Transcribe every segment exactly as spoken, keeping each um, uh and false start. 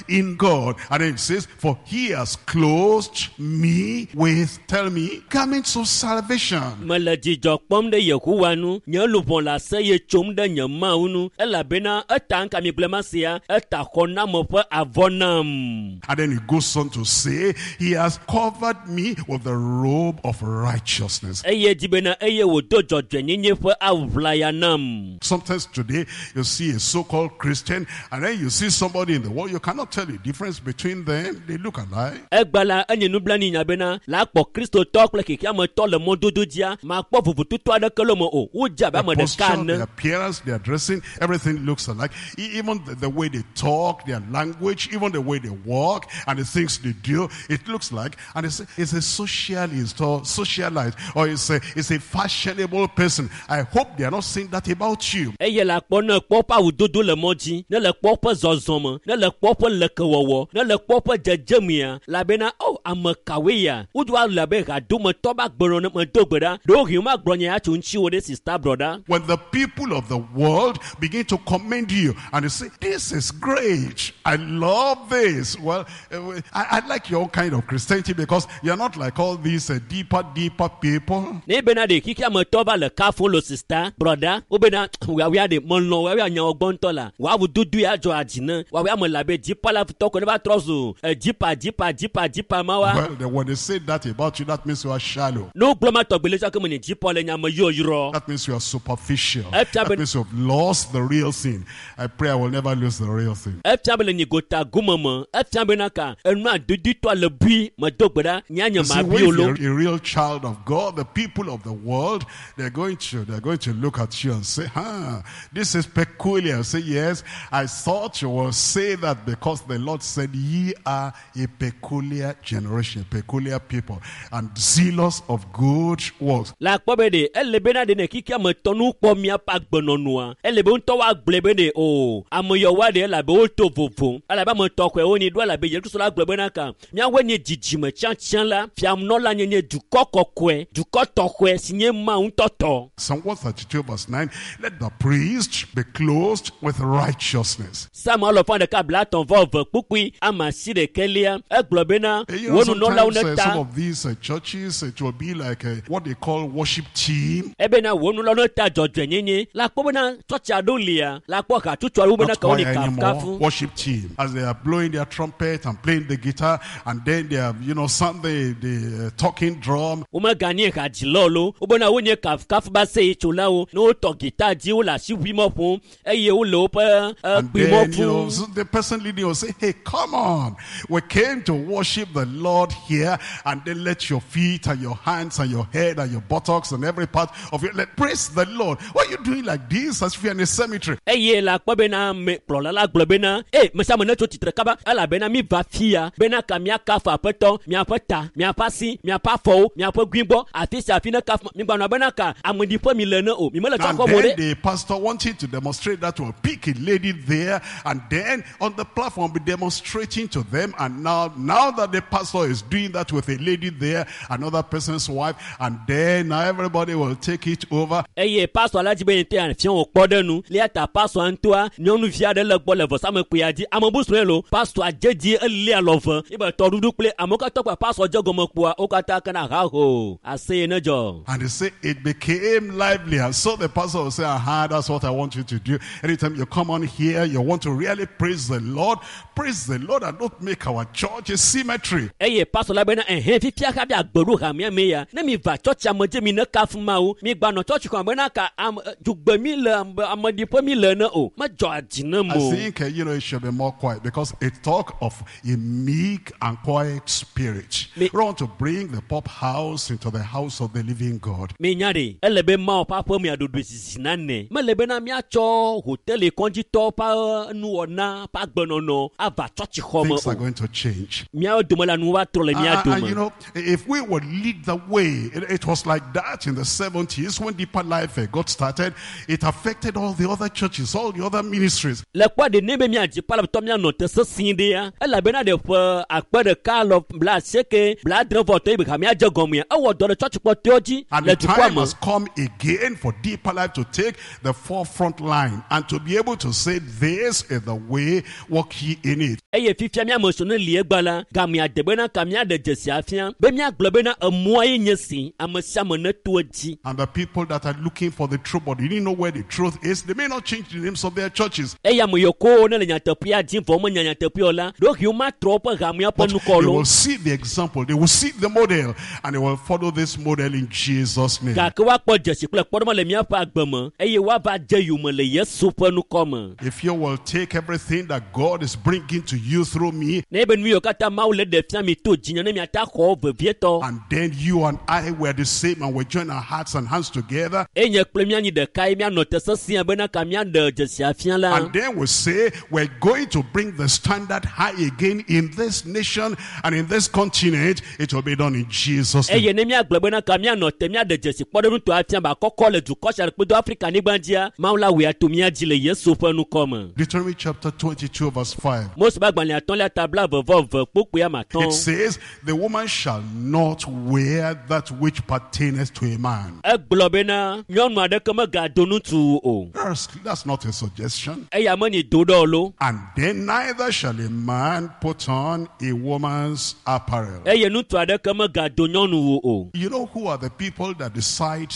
in God. And it says, for he has clothed me with, tell me, garments of salvation. Mele dzidzɔ kpɔm ɖe Yehowa nu, nye luʋɔ le aseye tsom ɖe nye Mawu nu, elabena eta ŋka mi gblẽ ma sia, eta xɔname ƒe avɔ nam. And then he goes on to say, he has covered me with the robe of righteousness. Eye dzi bena eye wòdo dzɔdzɔenyenye ƒe awu ʋlaya nam. Sometimes today you see a so-called Christian and then you see somebody in the world, you cannot tell the difference between them. They look alike. Egba la enye nublanui nya bena la akpɔ kristotɔ kple xexeametɔ le mɔdodo dzia, makpɔ vovototo aɖeke le me o. Wodze abe Their ame ɖeka posture, ene. their appearance, their dressing, everything looks alike. E- Even the, the way they talk, their language, even the way they walk and the things they do, it looks like. And it's, it's a socialist or socialite or it's a, it's a fashionable person. I hope they are not saying that about you. Eye le akpɔ ne kpɔ ƒe awudodo le mɔ dzi, ne le kpɔ ƒe zɔzɔme, ne le kpɔ ƒe lekewɔwɔ, ne le kpɔ ƒe dzedzemea, elabena o ame kawoe ya? Wodo le abe hadometɔ be agbenɔnɔ ne medo gbe ɖa. Ɖewohĩ womagblɔ nya ya tso ŋutiwò ɖe sista brɔda. When the people of the world begin to commend you and they say, this is great. I love this. Well, eh, I, I like your kind of Christianity because you're not like all these uh, deeper, deeper people. Ne bena ɖe xexeametɔ va le kafum lo sista brɔda, wobena woawoa ɖe melɔ̃ woawoa nyawo gbɔ ŋutɔ la, woawu dodo ya dzɔ adzi ne woawoa me le abe dzipa la tɔ ko ne va trɔ zu eh, dzipa dzipa dzipa dzipa ma wa. Well, then when they say that about you, that means you are shallow. Ne wogblɔ ma tɔgbi le tsɔ ke me nye dzipa le nya me yɔyrɔ. That means you are superficial. Efia That be- means you've lost the real thing. I pray I will never lose the real thing. Efia be le nyi gota gome me, efia bena ka enua dudutɔ le bui medo gbe ɖa nya nye You see, ma when bi o lo. you're a real child of God, the people of the world, they're going to, they're going to look at you and say, huh, this is peculiar. Say, yes, I thought you will say that because the Lord said, ye are a peculiar generation, peculiar people, and zealous of good works. Le akpɔ be ɖe ele bena ɖe ne xexeametɔ nu kpɔ miaƒe agbenɔnɔa, ele be ŋutɔ woagblɔe be ɖe o ame yawoa ɖe elabe woto vovo, elabe ame tɔxɔe wonyi ɖo elabe Yesu Kristo la gblɔ bena ka miawoe nye dzidzime tsiãtsiã la, fianɔla nyenye dukɔ kɔkɔe, dukɔ tɔxɔe si nye Mawu ŋutɔ tɔ. Psalm one thirty-two verse nine, let the priest be clothed with righteousness. Psalm alɔfa ɖeka blaetɔ̃ vɔ eve kpukpui ame asi ɖekɛlia egblɔ bena Eh, You know, wo nunɔlawo sometimes uh, ne some ta of these uh, churches, it will be like uh, what they call worship team. Ebena wo nunɔlawo ne ta dzɔdzɔenyenye la kpɔ bena tsɔtsi aɖewo lia la kpɔ hatsotso aɖewo bena Not ka wo ni choir anymore, kafukafu. worship team. As they are blowing their trumpet and playing the guitar, and then they are, you know, sound the, the uh, talking drum. Womeganye hadzilawo lo wobena wonye kafukafu ba seyetsolawo ne wotɔ gita dzi wole asiʋuimɔ ƒom eye wole woƒe And then, kpuimɔ you know, fum. so the person leading will say, hey, come on. We came to worship the Lord here. And then let your feet and your hands and your head and your buttocks and every part of you, let praise the Lord. Why are you doing like this as if you're in a cemetery? Eye le akpɔ bena ame kplɔla la gblɔ bena e me sia ame netso tsitre kaba elabena mi va fia bena ka miakafu aƒetɔ miaƒe ta miaƒe asi miaƒe afɔwo miaƒe guigbɔ afi sia afi ne kafu migbanɔ bena ka ameɖiƒe mi le ne o mi mele And tsɔkɔ mo then ɖe. the pastor wanted to demonstrate that will pick a lady there and then on the platform be demonstrating to them. And now, now that the pastor is doing that with a lady there, another person's wife, and then now everybody will take it over. Eye pastor la dzi be yete afia wò kpɔ ɖe nu lia ta pastor ŋutɔa nyɔnuvi aɖe le gbɔ le vɔsamekpuia dzi ame bu srɔ̃e lo pastor dze dzi eli alɔve ebe tɔɖuɖu kple amewo katã kpa pastor dze gɔme kpoa wo katã kena haho aseye ne dzɔ. And they say it became lively. And so the pastor will say, aha, that's what I want you to do. Anytime you come on here, you want to really praise the Lord. Praise the Lord and don't make our church a cemetery. Eye pastor la bena ɛhɛn fifia hafi agbeɖo hamea me ya ne mi va tsɔtsi ame dze mi ne kafu Mawu mi gbanɔ tsɔtsi xɔ bena ka ame dzugbe mi le ame ameɖiƒe mi le ne o medzɔ adzi ne I mo. think, uh, you know, it should be more quiet because it talk of a meek and quiet spirit. Me- We want to bring the pop house into the house of the living God. Mi nya ɖe ele be Mawu ƒe aƒe mia ɖoɖoe zizi nane mele bena miatsɔ hoteli kɔdzitɔwo ƒe nuwɔna ƒe agbenɔnɔ ava tsɔtsixɔ me Things are o. going to change. Míawo dome la nu va trɔ le mía And, and, you dome. know, if we would lead the way, it, it was like that in the seventies when Deeper Life uh, got started. It affected all the other churches, all the other ministries. Le kpɔ ɖe ne be míadzi palaptɔ míanɔ te sesĩ ɖea elabena ɖe ƒe akpe ɖeka lɔ bla asieke bla adre vɔ tɔ yi be hamea dze gɔmea ewɔ dɔ ɖe tsɔtsikpɔtɔewo dzi And le the dukɔa time me. has come again for Deeper Life to take the forefront line and to be able to say, this is the way walk ye in it. Eye fifia míame sɔ ne li egba la gamea de bena ka míaɖe dzesi afia be míagblɔ bena emɔa ye nye si ame sia ame neto edzi. And the people that are looking for the truth, but they didn't know where the truth is, they may not change the names of their churches. Eye ame yiwo ko ne le nyateƒea dim vɔ womenya nyateƒea o la ɖewohĩ womatrɔ woƒe hamea ƒe But nukɔ they lo. will see the example, they will see the model, and they will follow this model in Jesus' name. Gake woakpɔ dzesi kple kpɔɖeŋu le míaƒe agbe me eye woava dze yome le Yesu ƒe nukɔ me. If you will take everything that God is bringing to you through me, Ne be nu yiwo katã Mawu le ɖe fia mi to dzinye ne miata xɔ vevietɔ. and then you and I were the same and we join our hearts and hands together, Eye nye kple míanyi ɖeka ye míanɔ te sesĩe bena ka míaɖe dzesi afia la. and then we say we're going to bring the standard high again in this nation and in this continent, it will be done in Jesus' name. Eye ne míagblɔ bena ka míanɔ te míaɖe dzesi kpɔɖeŋutɔ afia ba kɔkɔ le dukɔ sia kple do Afrika nyigba dzia, Mawu la wɔe ato mía dzi le Yesu ƒe nukɔ me. Deuteronomy chapter twenty-two, verse five. Mose ƒe agbalẽ atɔ̃lia ta blaeve vɔ eve kpukpui ame It atɔ̃. says, the woman shall not wear that which pertaineth to a man. Egblɔ bena nyɔnu aɖeke megado ŋutsu o. That's, that's not a suggestion. Eya menyi do ɖe o lo. And then neither shall a man put on a woman's apparel. Eye ŋutsu aɖeke megado nyɔnuwo o. You know who are the people that decide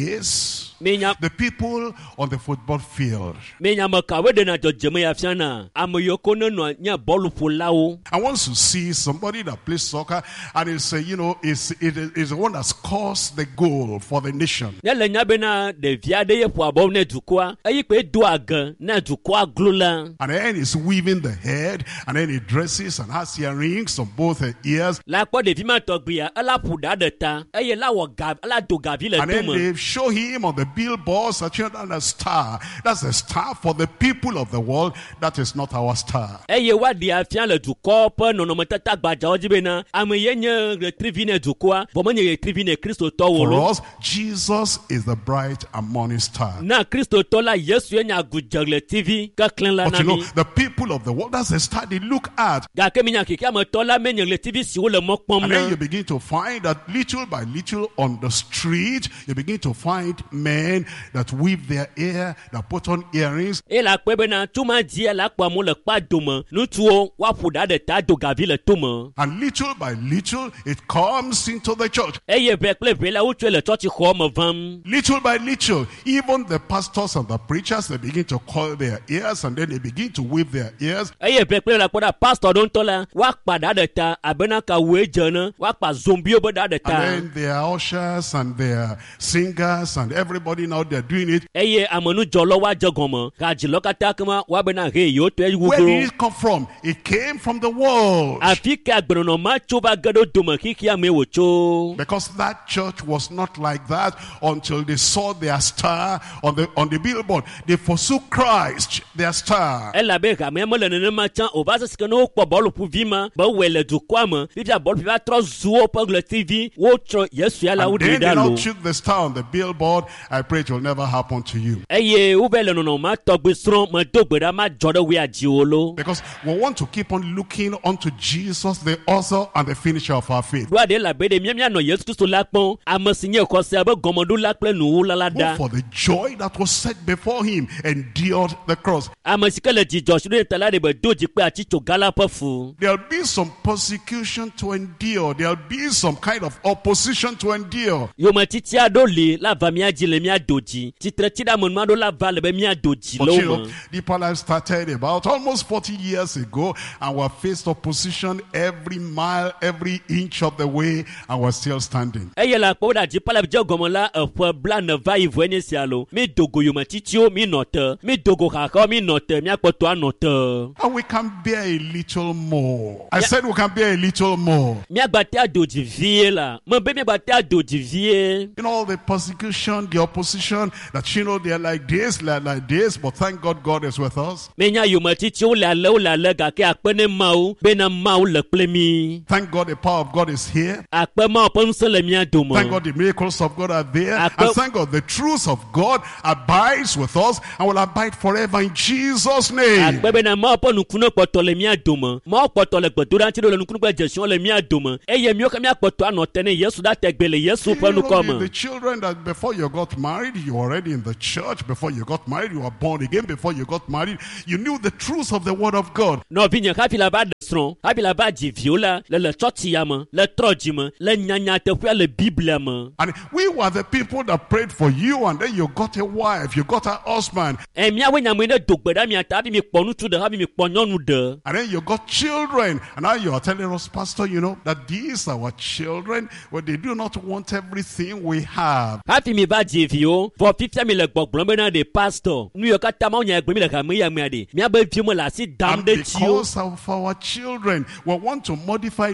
this? Minya The people on the football field. minya ame kawoe ɖena dzɔdzɔme ya fiana? Ame yiwo ko nenɔ nye bɔluƒolawo. And once you see somebody that plays soccer and it's, uh, you know, it's, it is the one that scores the goal for the nation. Ne le nya bena ɖevi aɖe ye ƒoa bɔlu ne dukɔa, eyi kpe do age ne dukɔa glo la. And then he's weaving the head, and then he dresses and has earrings on both the ears. La kpɔ ɖevi ma tɔgbia, ela ƒo ɖa ɖe ta eye la wɔ ga, ela do gavi le And then tome. they show him on the billboards that you know, that's a star. That's a star for the people of the world. That is not our star. Eye woaɖe afia le dukɔ ƒe nɔnɔmetata gbadzawo dzi bena ame ye nye ɣetrivi ne dukɔa, vɔ menye ɣetrivi ne kristotɔwo For lo. us, Jesus is the bright and morning star. Na kristotɔ la, Yesu ye nye agudze ɣletivi keklẽ la But na you know, mi. the people of the world, that's the star they look at. Gake minya xexeametɔ la menye ɣletivi siwo le mɔ kpɔm And then na. you begin to find that little by little on the street, you begin to find men that weave their hair, that put on earrings, Eye le akpɔe bena tso ma dzia le akpɔ amewo le kpa dome, ŋutsuwo woaƒo ɖa ɖe ta do gavi le tome. and little by little, it comes into the church. Eye ʋɛ kple ʋɛ la wotsɔe le tsɔtsixɔ me vam. Little by little, even the pastors and the preachers, they begin to coil their ears and then they begin to wave their ears. Eye ʋɛ kple ʋɛ la kpɔ ɖa pastor ɖewo ŋutɔ la woakpa ɖa ɖe ta abena kawue dze ene, woakpa zombiwo be ɖa ɖe ta. And then their ushers and their singers and everybody now they're doing it. Eye amenudzɔlawo woadze gɔme, hadzilɔ katã kema woabena he yewo tɔe Where wuglo. did it come from? It came from the world. Afi ka agbenɔnɔ ma tso va ge ɖe wo dome xexea mee wòtso. Because that church was not like that until they saw their star on the on the billboard. They forsook Christ, their star. Elabe hamea mele nenema tsã o va se si ke ne wokpɔ bɔluƒuvi ma be wɔe le dukɔa me fifia bɔluƒuvi va trɔ zu woƒe ɣletivi wotsɔ Yesu ya la And woɖe then they ɖa now lo. took the star on the billboard. I pray it will never happen to you. Eye wova le nɔnɔme ma tɔgbi srɔ̃ medo gbe ɖa madzɔ ɖe woa dziwò lo. Because we want to keep on looking unto Jesus, the author and the finisher of our faith. Ɖoa ɖe elabe ɖe mía míanɔ Yesu Kristo la kpɔm, ame si nye xɔsea be gɔmeɖola kple nuwula la Who ɖa. for the joy that was set before him endured the cross. Ame si ke le dzidzɔ si ɖo ɖe ta la ɖe be do dzi kple atitsoga la ƒe fu. There'll be some persecution to endure. There'll be some kind of opposition to endure. Yometiti aɖewo li la va mía dzi le mía do dzi. Tsitretsiɖeamenu aɖewo la va le be mía do dzi But le you wo know, me. Deeper Life started about almost forty years ago, and we faced opposition every mile, every inch of the way, and we're still standing. Eye le akpɔ ɖe dziƒo le dze gɔme la eƒe blaene va yi vɔe nye sia lo. Mi do go yometitiwo mi nɔ te. Mi do go xaxawo mi nɔ te. Míakpɔtɔ anɔ te. And we can bear a little more. I said we can bear a little more. Míagbate ado dzi vie la. Mebe míagbate ado dzi vie. You know, the persecution, the opposition, that you know they're like this, they're like this, but thank God God is with us. Míenya yometitiwo le ale wole ale gake akpe ne Mawu bena Mawu le kple mí. Thank God the power of God is here. Akpe Mawu ƒe ŋusẽ le mía dome. Thank God the miracles of God are there. Akpe- And thank God the truth of God abides with us and will abide forever in Jesus' name. Akpe bena Mawu ƒe nukunu kpɔtɔ le mía dome. Mawu kpɔtɔ le gbedoɖa ŋuti ɖo le nukunu kple dzesiwo le mía dome. Eye míwo ke míakpɔtɔ anɔ te ne Yesu ɖa tegbe le Yesu ƒe You know, nukɔ the, me. the children that before you got married, you were already in the church. Before you got married, you were born again. Before you got married, you knew the truth of the word of God. Nɔvinye hafi la va ɖe srɔ̃ hafi la va dzi viwo la le le tsɔtsi ya me le trɔ dzi me le nyanyateƒea le biblia me And we were the people that prayed for you, and then you got a wife, you got a husband, ɛ miawoe nyame ne do gbe ɖa mia ta hafi mi kpɔ ŋutsu ɖe hafi mi kpɔ nyɔnu ɖe and then you got children. And now you are telling us, Pastor, you know, that these our children, well, they do not want everything we have. Hafi mi va dzi viwo vɔ fifia mi le gbɔgblɔm bena ɖe pastor nu yiwo katã mawu nya gblɔm mi le hame ya mea ɖe miabe viwo me le asi dam And ɖe dziwo because of our children, we want to modify,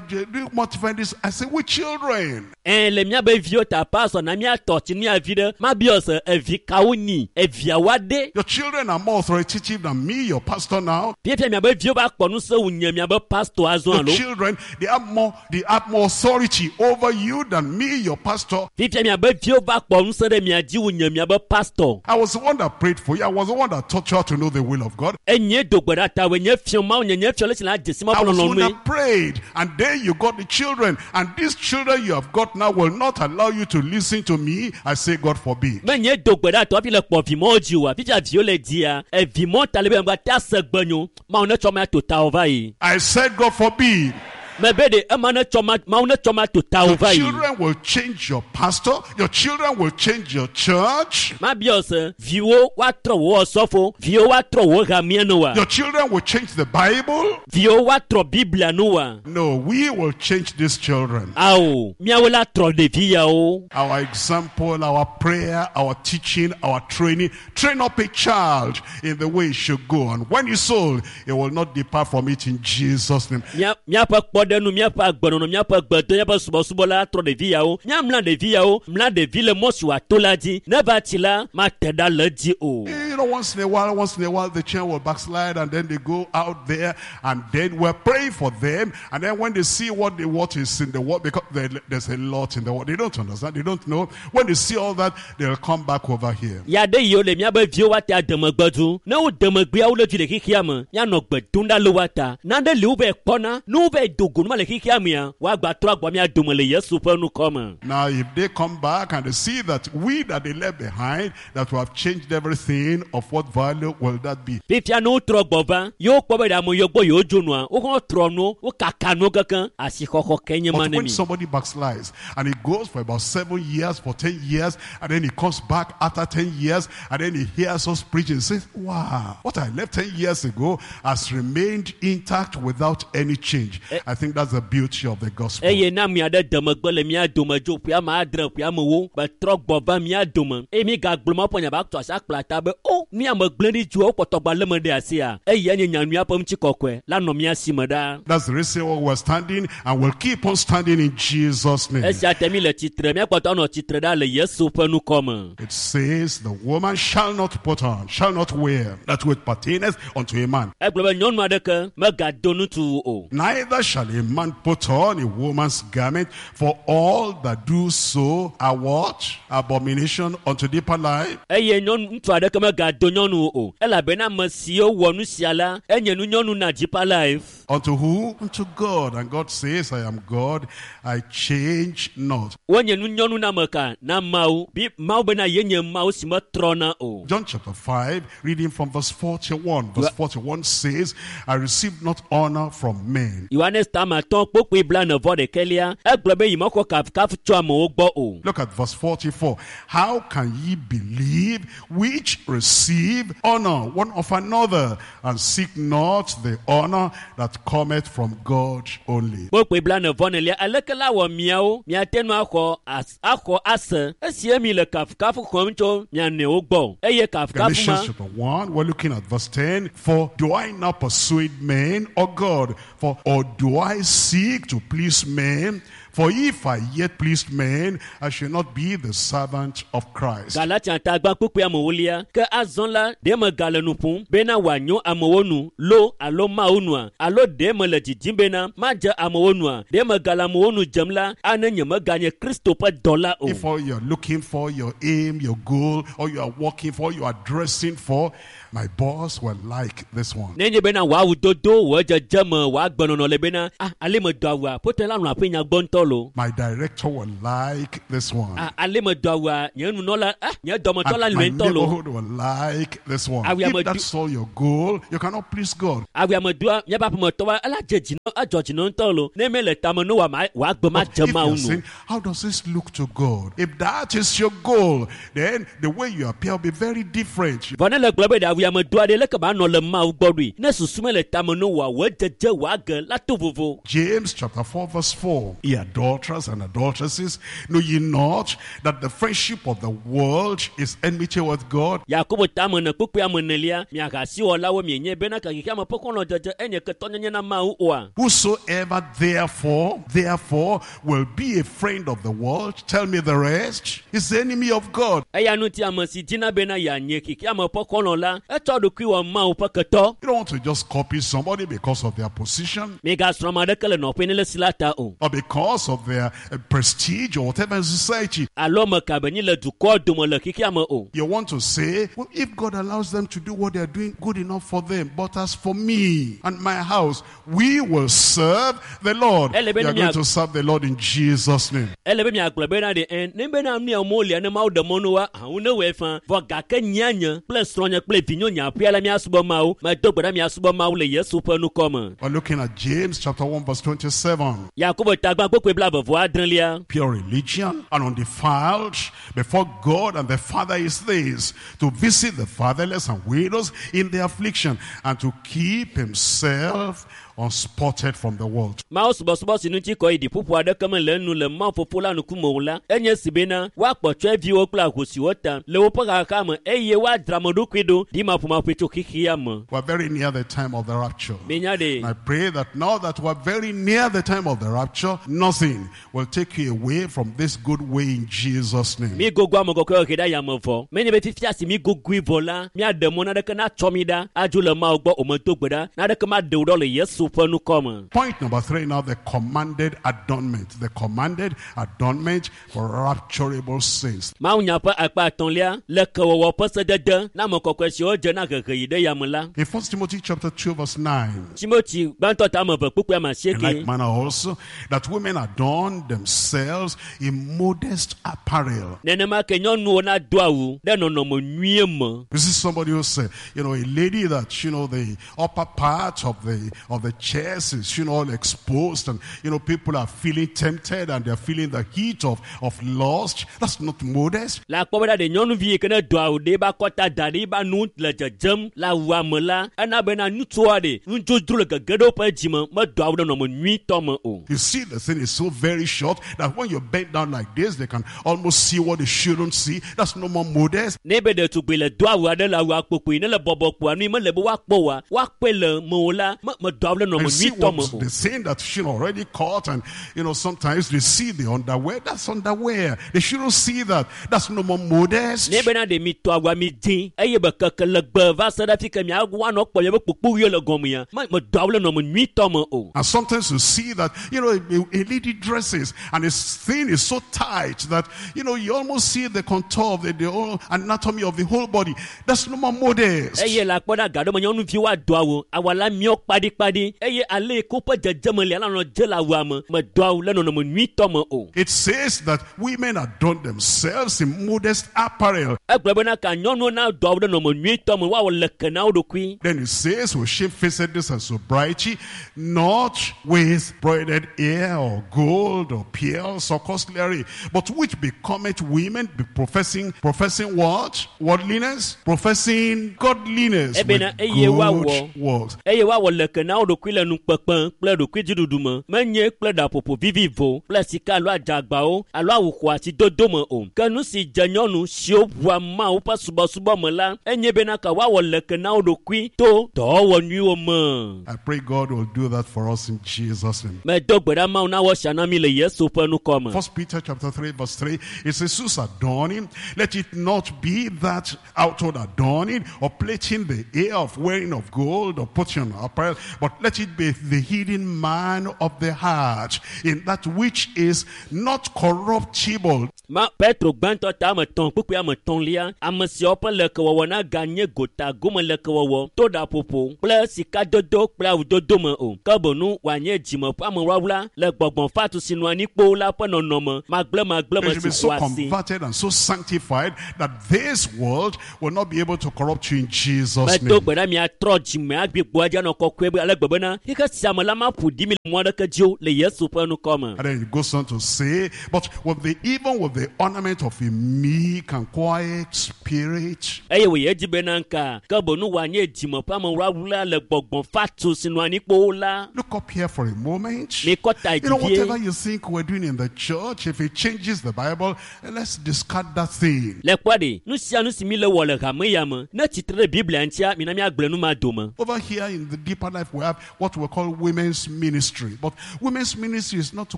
modify this. I say, we children. Ɛ le miabe viwo ta pastor na miatɔ tsi mia vi ɖe mabiɔ se evi kawo nyi eviawoa ɖe Your children are more authoritative than me, your pastor now. fifia miabe viwo va kpɔ ŋusẽ wu nye miabe pastor azɔ Your alo children, they have more, they have more authority over you than me, your pastor. Fifia miabe viwo va kpɔ ŋusẽ ɖe mia dzi wu nye miabe pastor I was the one that prayed for you. I was the one that taught you how to know the will of God. Enye do gbe ɖa tawoe nye fiɔ mawu nye nye fiɔ le si la dze si ma I ƒe was the one lɔlɔ̃nue that prayed. And then you got the children. And these children you have got now will not allow you to listen to me. I say, God forbid. Menye do gbe ɖa tɔ hafi le kpɔ vimɔwo dzi oa fifia viwo le dzia evimɔ ta le be ŋgba te ase gbe nyo mawu ne tsɔ ma to tawo va yi I said, God forbid. Mebe ɖe ema ne tsɔ ma mawu ne tsɔ ma to tawo Your va yi children will change your pastor. Your children will change your church. Mabiɔ se viwo woatrɔ wò ɔsɔfo viwo woatrɔ wò hamea nu wa Your children will change the Bible. Viwo woatrɔ biblia nu wa No, we will change these children. Ao miawo la trɔ ɖevi yawo Our example, our prayer, our teaching, our training. Train up a child in the way he should go. And when he's old, he will not depart from it in Jesus' name. Mía míaƒe kpɔɖenu míaƒe agbenɔnɔ míaƒe gbedo míaƒe subɔsubɔ la trɔ ɖevi yawo míamla ɖevi yawo mla ɖevi le mɔ si wòato la dzi ne va tsi la mate ɖa le edzi o You know, once in a while, once in a while, the children will backslide and then they go out there and then we're praying for them. And then when they see what they, what is in the world, because there, there's a lot in the world, they don't understand, they don't know. When they see all that, they'll come back over here. Ya ɖe yiwo le míabe viwo woate ademegbe du ne wo demegbea wo le dzi le xexea me míanɔ gbe dom ɖa le woata nane li wo va kpɔna ne wo va do go numa le xexea mea woagba trɔ agbɔ mía dome le yesu ƒe nukɔ me Now, if they come back and they see that we that they left behind, that we have changed everything, of what value will that be? Fifia ne wotrɔ gbɔ va yewo kpɔ be ɖe ame yiwo gbɔ yewo dzo nua wohã trɔ nuwo wokaka nuwo kekeŋ asixɔxɔ ke nye ma But ne when mi somebody backslides and he goes for about seven years, for ten years, and then he comes back after ten years, and then he hears us preaching and says, wow, what I left ten years ago has remained intact without any change. I think that's the beauty of the gospel. Eye na ame aɖe demegbe le mía dome dzo ƒe ame adre ƒe amewo betrɔ gbɔ va mía dome eye mi gagblɔ ma ƒe nya ba tɔ asi akpla ta be o nu ya me gblẽ ɖi dzoa wokpɔtɔ gba lé me ɖe asia eya nye nyanyuia ƒe ŋutikɔkɔe la nɔ mía si me ɖaa That's the reason why we're standing and we'll keep on standing in Jesus' name. Esia te mi le tsitre míakpɔtɔ anɔ tsitre ɖa le yesu ƒe nukɔ me It says, the woman shall not put on, shall not wear that which pertaineth unto a man. Egblɔ be nyɔnu aɖeke megado ŋutsu o Neither shall a man put on a woman's garment, for all that do so are what? Abomination unto deeper life. Eye nyɔnu ŋutsu aɖeke megado nyɔnu o elabena ame siwo wɔ nu sia la enye nu nyɔnu na deeper life Unto who? Unto God. And God says, I am God, I change not. Wonye nu nyɔnu na ame ka na mawu bi mawu bena yenye mawu si metrɔna o John chapter five, reading from verse forty-one. Verse forty-one says, I received not honor from men. Yohanes tama atɔ̃ kpokpoe blaene vɔ ɖekɛlia egblɔ be yi mexɔ kafukafu tso amewo gbɔ o Look at verse forty-four. How can ye believe which receive honor one of another and seek not the honor that cometh from God only? Kpokpoe blaene vɔ nelia aleke la wɔ miawo miate ŋu axɔ as axɔ ase esie mi le kafukafu xɔm tso mia nɔewo gbɔ eye kafukafu Galatians ma chapter one, we're looking at verse ten. For do I now persuade men or God? For or do I seek to please men? For if I yet pleased men, I shall not be the servant of Christ. Galatia tagba kpukpui amewolia ke azɔ la ɖe megale nu ƒom bena wòanyo amewo nu lo alo mawu nua alo ɖe mele didim bena madze amewo nua ɖe megale amewo nu dzem la ane nye meganye kristo ƒe dɔla o If all you're looking for, your aim, your goal, or you are working for, you are dressing for, my boss will like this one. Nenye bena wò awu dodo wò dzedzeme wò agbenɔnɔ le bena ah ale me do awua ƒote la nɔ aƒe nya gbɔ ŋutɔ lo My director will like this one. Ah, ale me do awua nye nunɔla ah nye dɔmetɔ la And my lɔe ŋutɔ lo neighborhood will like this one. Ah, we are If do- that's all your goal, you cannot please God. awua me doa míaƒe aƒemetɔwoa ela dze dzi na edzɔ dzi na ŋutɔ lo ne mele tame no wa ma wòagbe ma But dze if mawu you're nu saying, how does this look to God? If that is your goal, then the way you appear will be very different. vɔ ne le gblɔ be ɖe awua me doa ɖe leke ma nɔ le mawu gbɔ ɖoe ne susu mele tame no wa wò dzedze wòage la to vovo James chapter four verse four. Ye adulterers and adulteresses, know ye not that the friendship of the world is enmity with God? Yakobo tame ne kpukpui ame enelia miahasiwɔlawo mienye bena xexeame ƒe xɔlɔ̃dzedze enye ketɔnyenye na mawu oa Whosoever therefore, therefore will be a friend of the world, tell me the rest, is the enemy of God. eya ŋuti ame si dina bena yeanye xexeame ƒe xɔlɔ̃ la etsɔ ɖokui wɔ mawu ƒe ketɔ You don't want to just copy somebody because of their position migasrɔ̃ ame aɖeke le nɔƒe ne le si la ta o or because of their uh, prestige or whatever in society. alo ame ka be nyi le dukɔ dome le xexeame o You want to say, well, if God allows them to do what they are doing, good enough for them. But as for me and my house, we will serve the Lord. Ele You be are ni going mia- to serve the Lord in Jesus' name. ele be miagblɔ bena ɖe ɛ ne bena nu ya mo lia ne mawu ɖe mɔ nu wa hawo ne wɔe fã vɔ gake nyia nye kple srɔ̃nye kple vinyo nye aƒea la miasubɔ mawu medo gbe ɖa miasubɔ mawu le yesu ƒe nukɔ me We're looking at James chapter one verse twenty-seven. Yakobo tagba kpukpui blaeve vɔ adrelia Pure religion and undefiled before God and the Father is this, to visit the fatherless and widows in their affliction and to keep himself unspotted from the world. Mawu subɔsubɔ si ŋuti kɔ yi ɖiƒoƒo aɖeke mele enu le Mawu fofo la ŋkume o la enye si bena woakpɔ tsɔeviwo kple ahosiwo ta le woƒe xaxa me eye woadzra ame ɖokui ɖo ɖimaƒomaƒoe tso xexea me We're very near the time of the rapture. minya ɖe And I pray that now that we're very near the time of the rapture, nothing will take you away from this good way in Jesus' name. mi gogo ame kɔkɔewo he ɖe ayame vɔ menye be fifia si mi gogoe vɔ la miaɖe mɔ naɖeke natsɔ mi ɖa adzo le Mawu gbɔ o medo gbe ɖa naɖeke maɖe wo ɖɔ le Yesu ƒe nukɔ me Point number three now, the commanded adornment. The commanded adornment for rapturable saints. Mawunya ƒe akpa atɔ̃lia le kewɔwɔ ƒe sedede na ame kɔkɔe siwo dze na hehe yi ɖe yame la In First Timothy chapter two verse nine, Timoti gbãtɔ ta ame eve kpukpui ame in asieke like manner also, that women adorn themselves in modest apparel. nenema ke nyɔnuwo nado awu ɖe nɔnɔme nyuie me You see somebody who say, you know, a lady that, you know, the upper part of the of the chest is, you know, all exposed and, you know, people are feeling tempted and they're feeling the heat of, of lust. That's not modest. Le akpɔ bena ɖe nyɔnuvi yi ke ne do awu ɖe eba kɔta da ɖe eba nu le dzedzem le awua me la ena bena ŋutsua ɖe nudzodzro le gege ɖe woƒe dzime medo awu ɖe nɔnɔme nyuitɔ me o You see, the thing is so very short that when you bend down like this, they can almost see what they shouldn't see. That's no more modest. ne be ɖetugbui le do awu aɖe le awua kpokpoe ne le bɔbɔ kpoa nu yi mele be woakpɔ oa woakpɔe le mewò la me medo awu ɖe nɔnɔme And see nyuitɔ me what o the thing that she already caught, and you know, sometimes they see the underwear. That's underwear. They shouldn't see that. That's no more modest. ne bena ɖe mi tɔ awua mi dzi eye be keke legbe va se ɖe fi ke mia woanɔ kpɔ miabe kpokpoɣiwo le gɔmea me medo awu ɖe nɔnɔme nyuitɔ me o And sometimes you see that, you know, a, a lady dresses and his thing is so tight that, you know, you almost see the contour of the, the whole anatomy of the whole body. That's no more modest. eye le akpɔ ɖe agaɖo me nyɔnuviwo ado awu awu la miɔ kpaɖikpaɖi eye ale yi ke woƒe dzedzeme lia la nɔ dze le awua me medo awu le nɔnɔme nyuitɔ me o It says that women adorn themselves in modest apparel. egblɔ bena ka nyɔnuwo nado awu ɖe nɔnɔme nyuitɔ me woawɔ leke na wo ɖokui Then it says, with shamefacedness and sobriety, not with broidered hair or gold or pearls or costly array, but which becometh women, be professing, professing what? Worldliness? Professing godliness with Ebena, eye woawɔ. good works. eye woawɔ leke na wo ɖokui le nukpekpe kple ɖokuidziɖuɖu me menye kple ɖaƒoƒo vivivo kple sika alo adzagbawo alo awu xɔasi dodo me o ke nu si dze nyɔnu siwo ʋua Mawu ƒe subɔsubɔ me la enye bena ka woawɔ leke na wo ɖokui to dɔwɔwɔ nyuiwo me I pray God will do that for us in Jesus' name. medo gbe ɖa Mawu nawɔ sia na mi le Yesu ƒe nukɔ me First Peter chapter three verse three, it says, whose adorning, let it not be that outward adorning or plaiting the hair of wearing of gold or putting on apparel, but let it be the hidden man of the heart, in that which is not corruptible. Ma Petro gbãtɔ ta ame etɔ̃ kpukpui ame etɔ̃lia ame siawo ƒe lekewɔwɔ naganye gota gome lekewɔwɔ to ɖaƒoƒo kple sikadodo kple awudodo me o ke boŋ wòanye dzime ƒe amewlawla le gbɔgbɔ fatu si nɔ anyi kpoo la ƒe nɔnɔme magblẽmagblẽ They me should be si so xɔa asi. converted and so sanctified that this world will not be able to corrupt you in Jesus' Medo name. gbe ɖa miatrɔ dzime agbigbo adzi anɔ kɔkɔe be ale gbe bena xixe sia me la maƒo ɖi mi le mɔ aɖeke dzi o le Yesu ƒe ŋkɔ me. And then it goes on to say, but with the even with the ornament of a meek and quiet spirit, eye wòye edzi bena nka ke boŋ wòanye dzime ƒe amewlawla le gbɔgbɔ fatu si nɔ anyi kpoo la. Look up here for a moment. Mikɔ ta You know, dzi vie. whatever you think we're doing in the church, if it changes the Bible, eh, let's discard that thing. Le kpɔ ɖe nu sia nu si mi le wɔ le hame ya me ne tsitre ɖe Biblia ŋutia mina miagblẽ nu ma dome. Over here in the deeper life, we have what we call women's ministry. But women's ministry is not to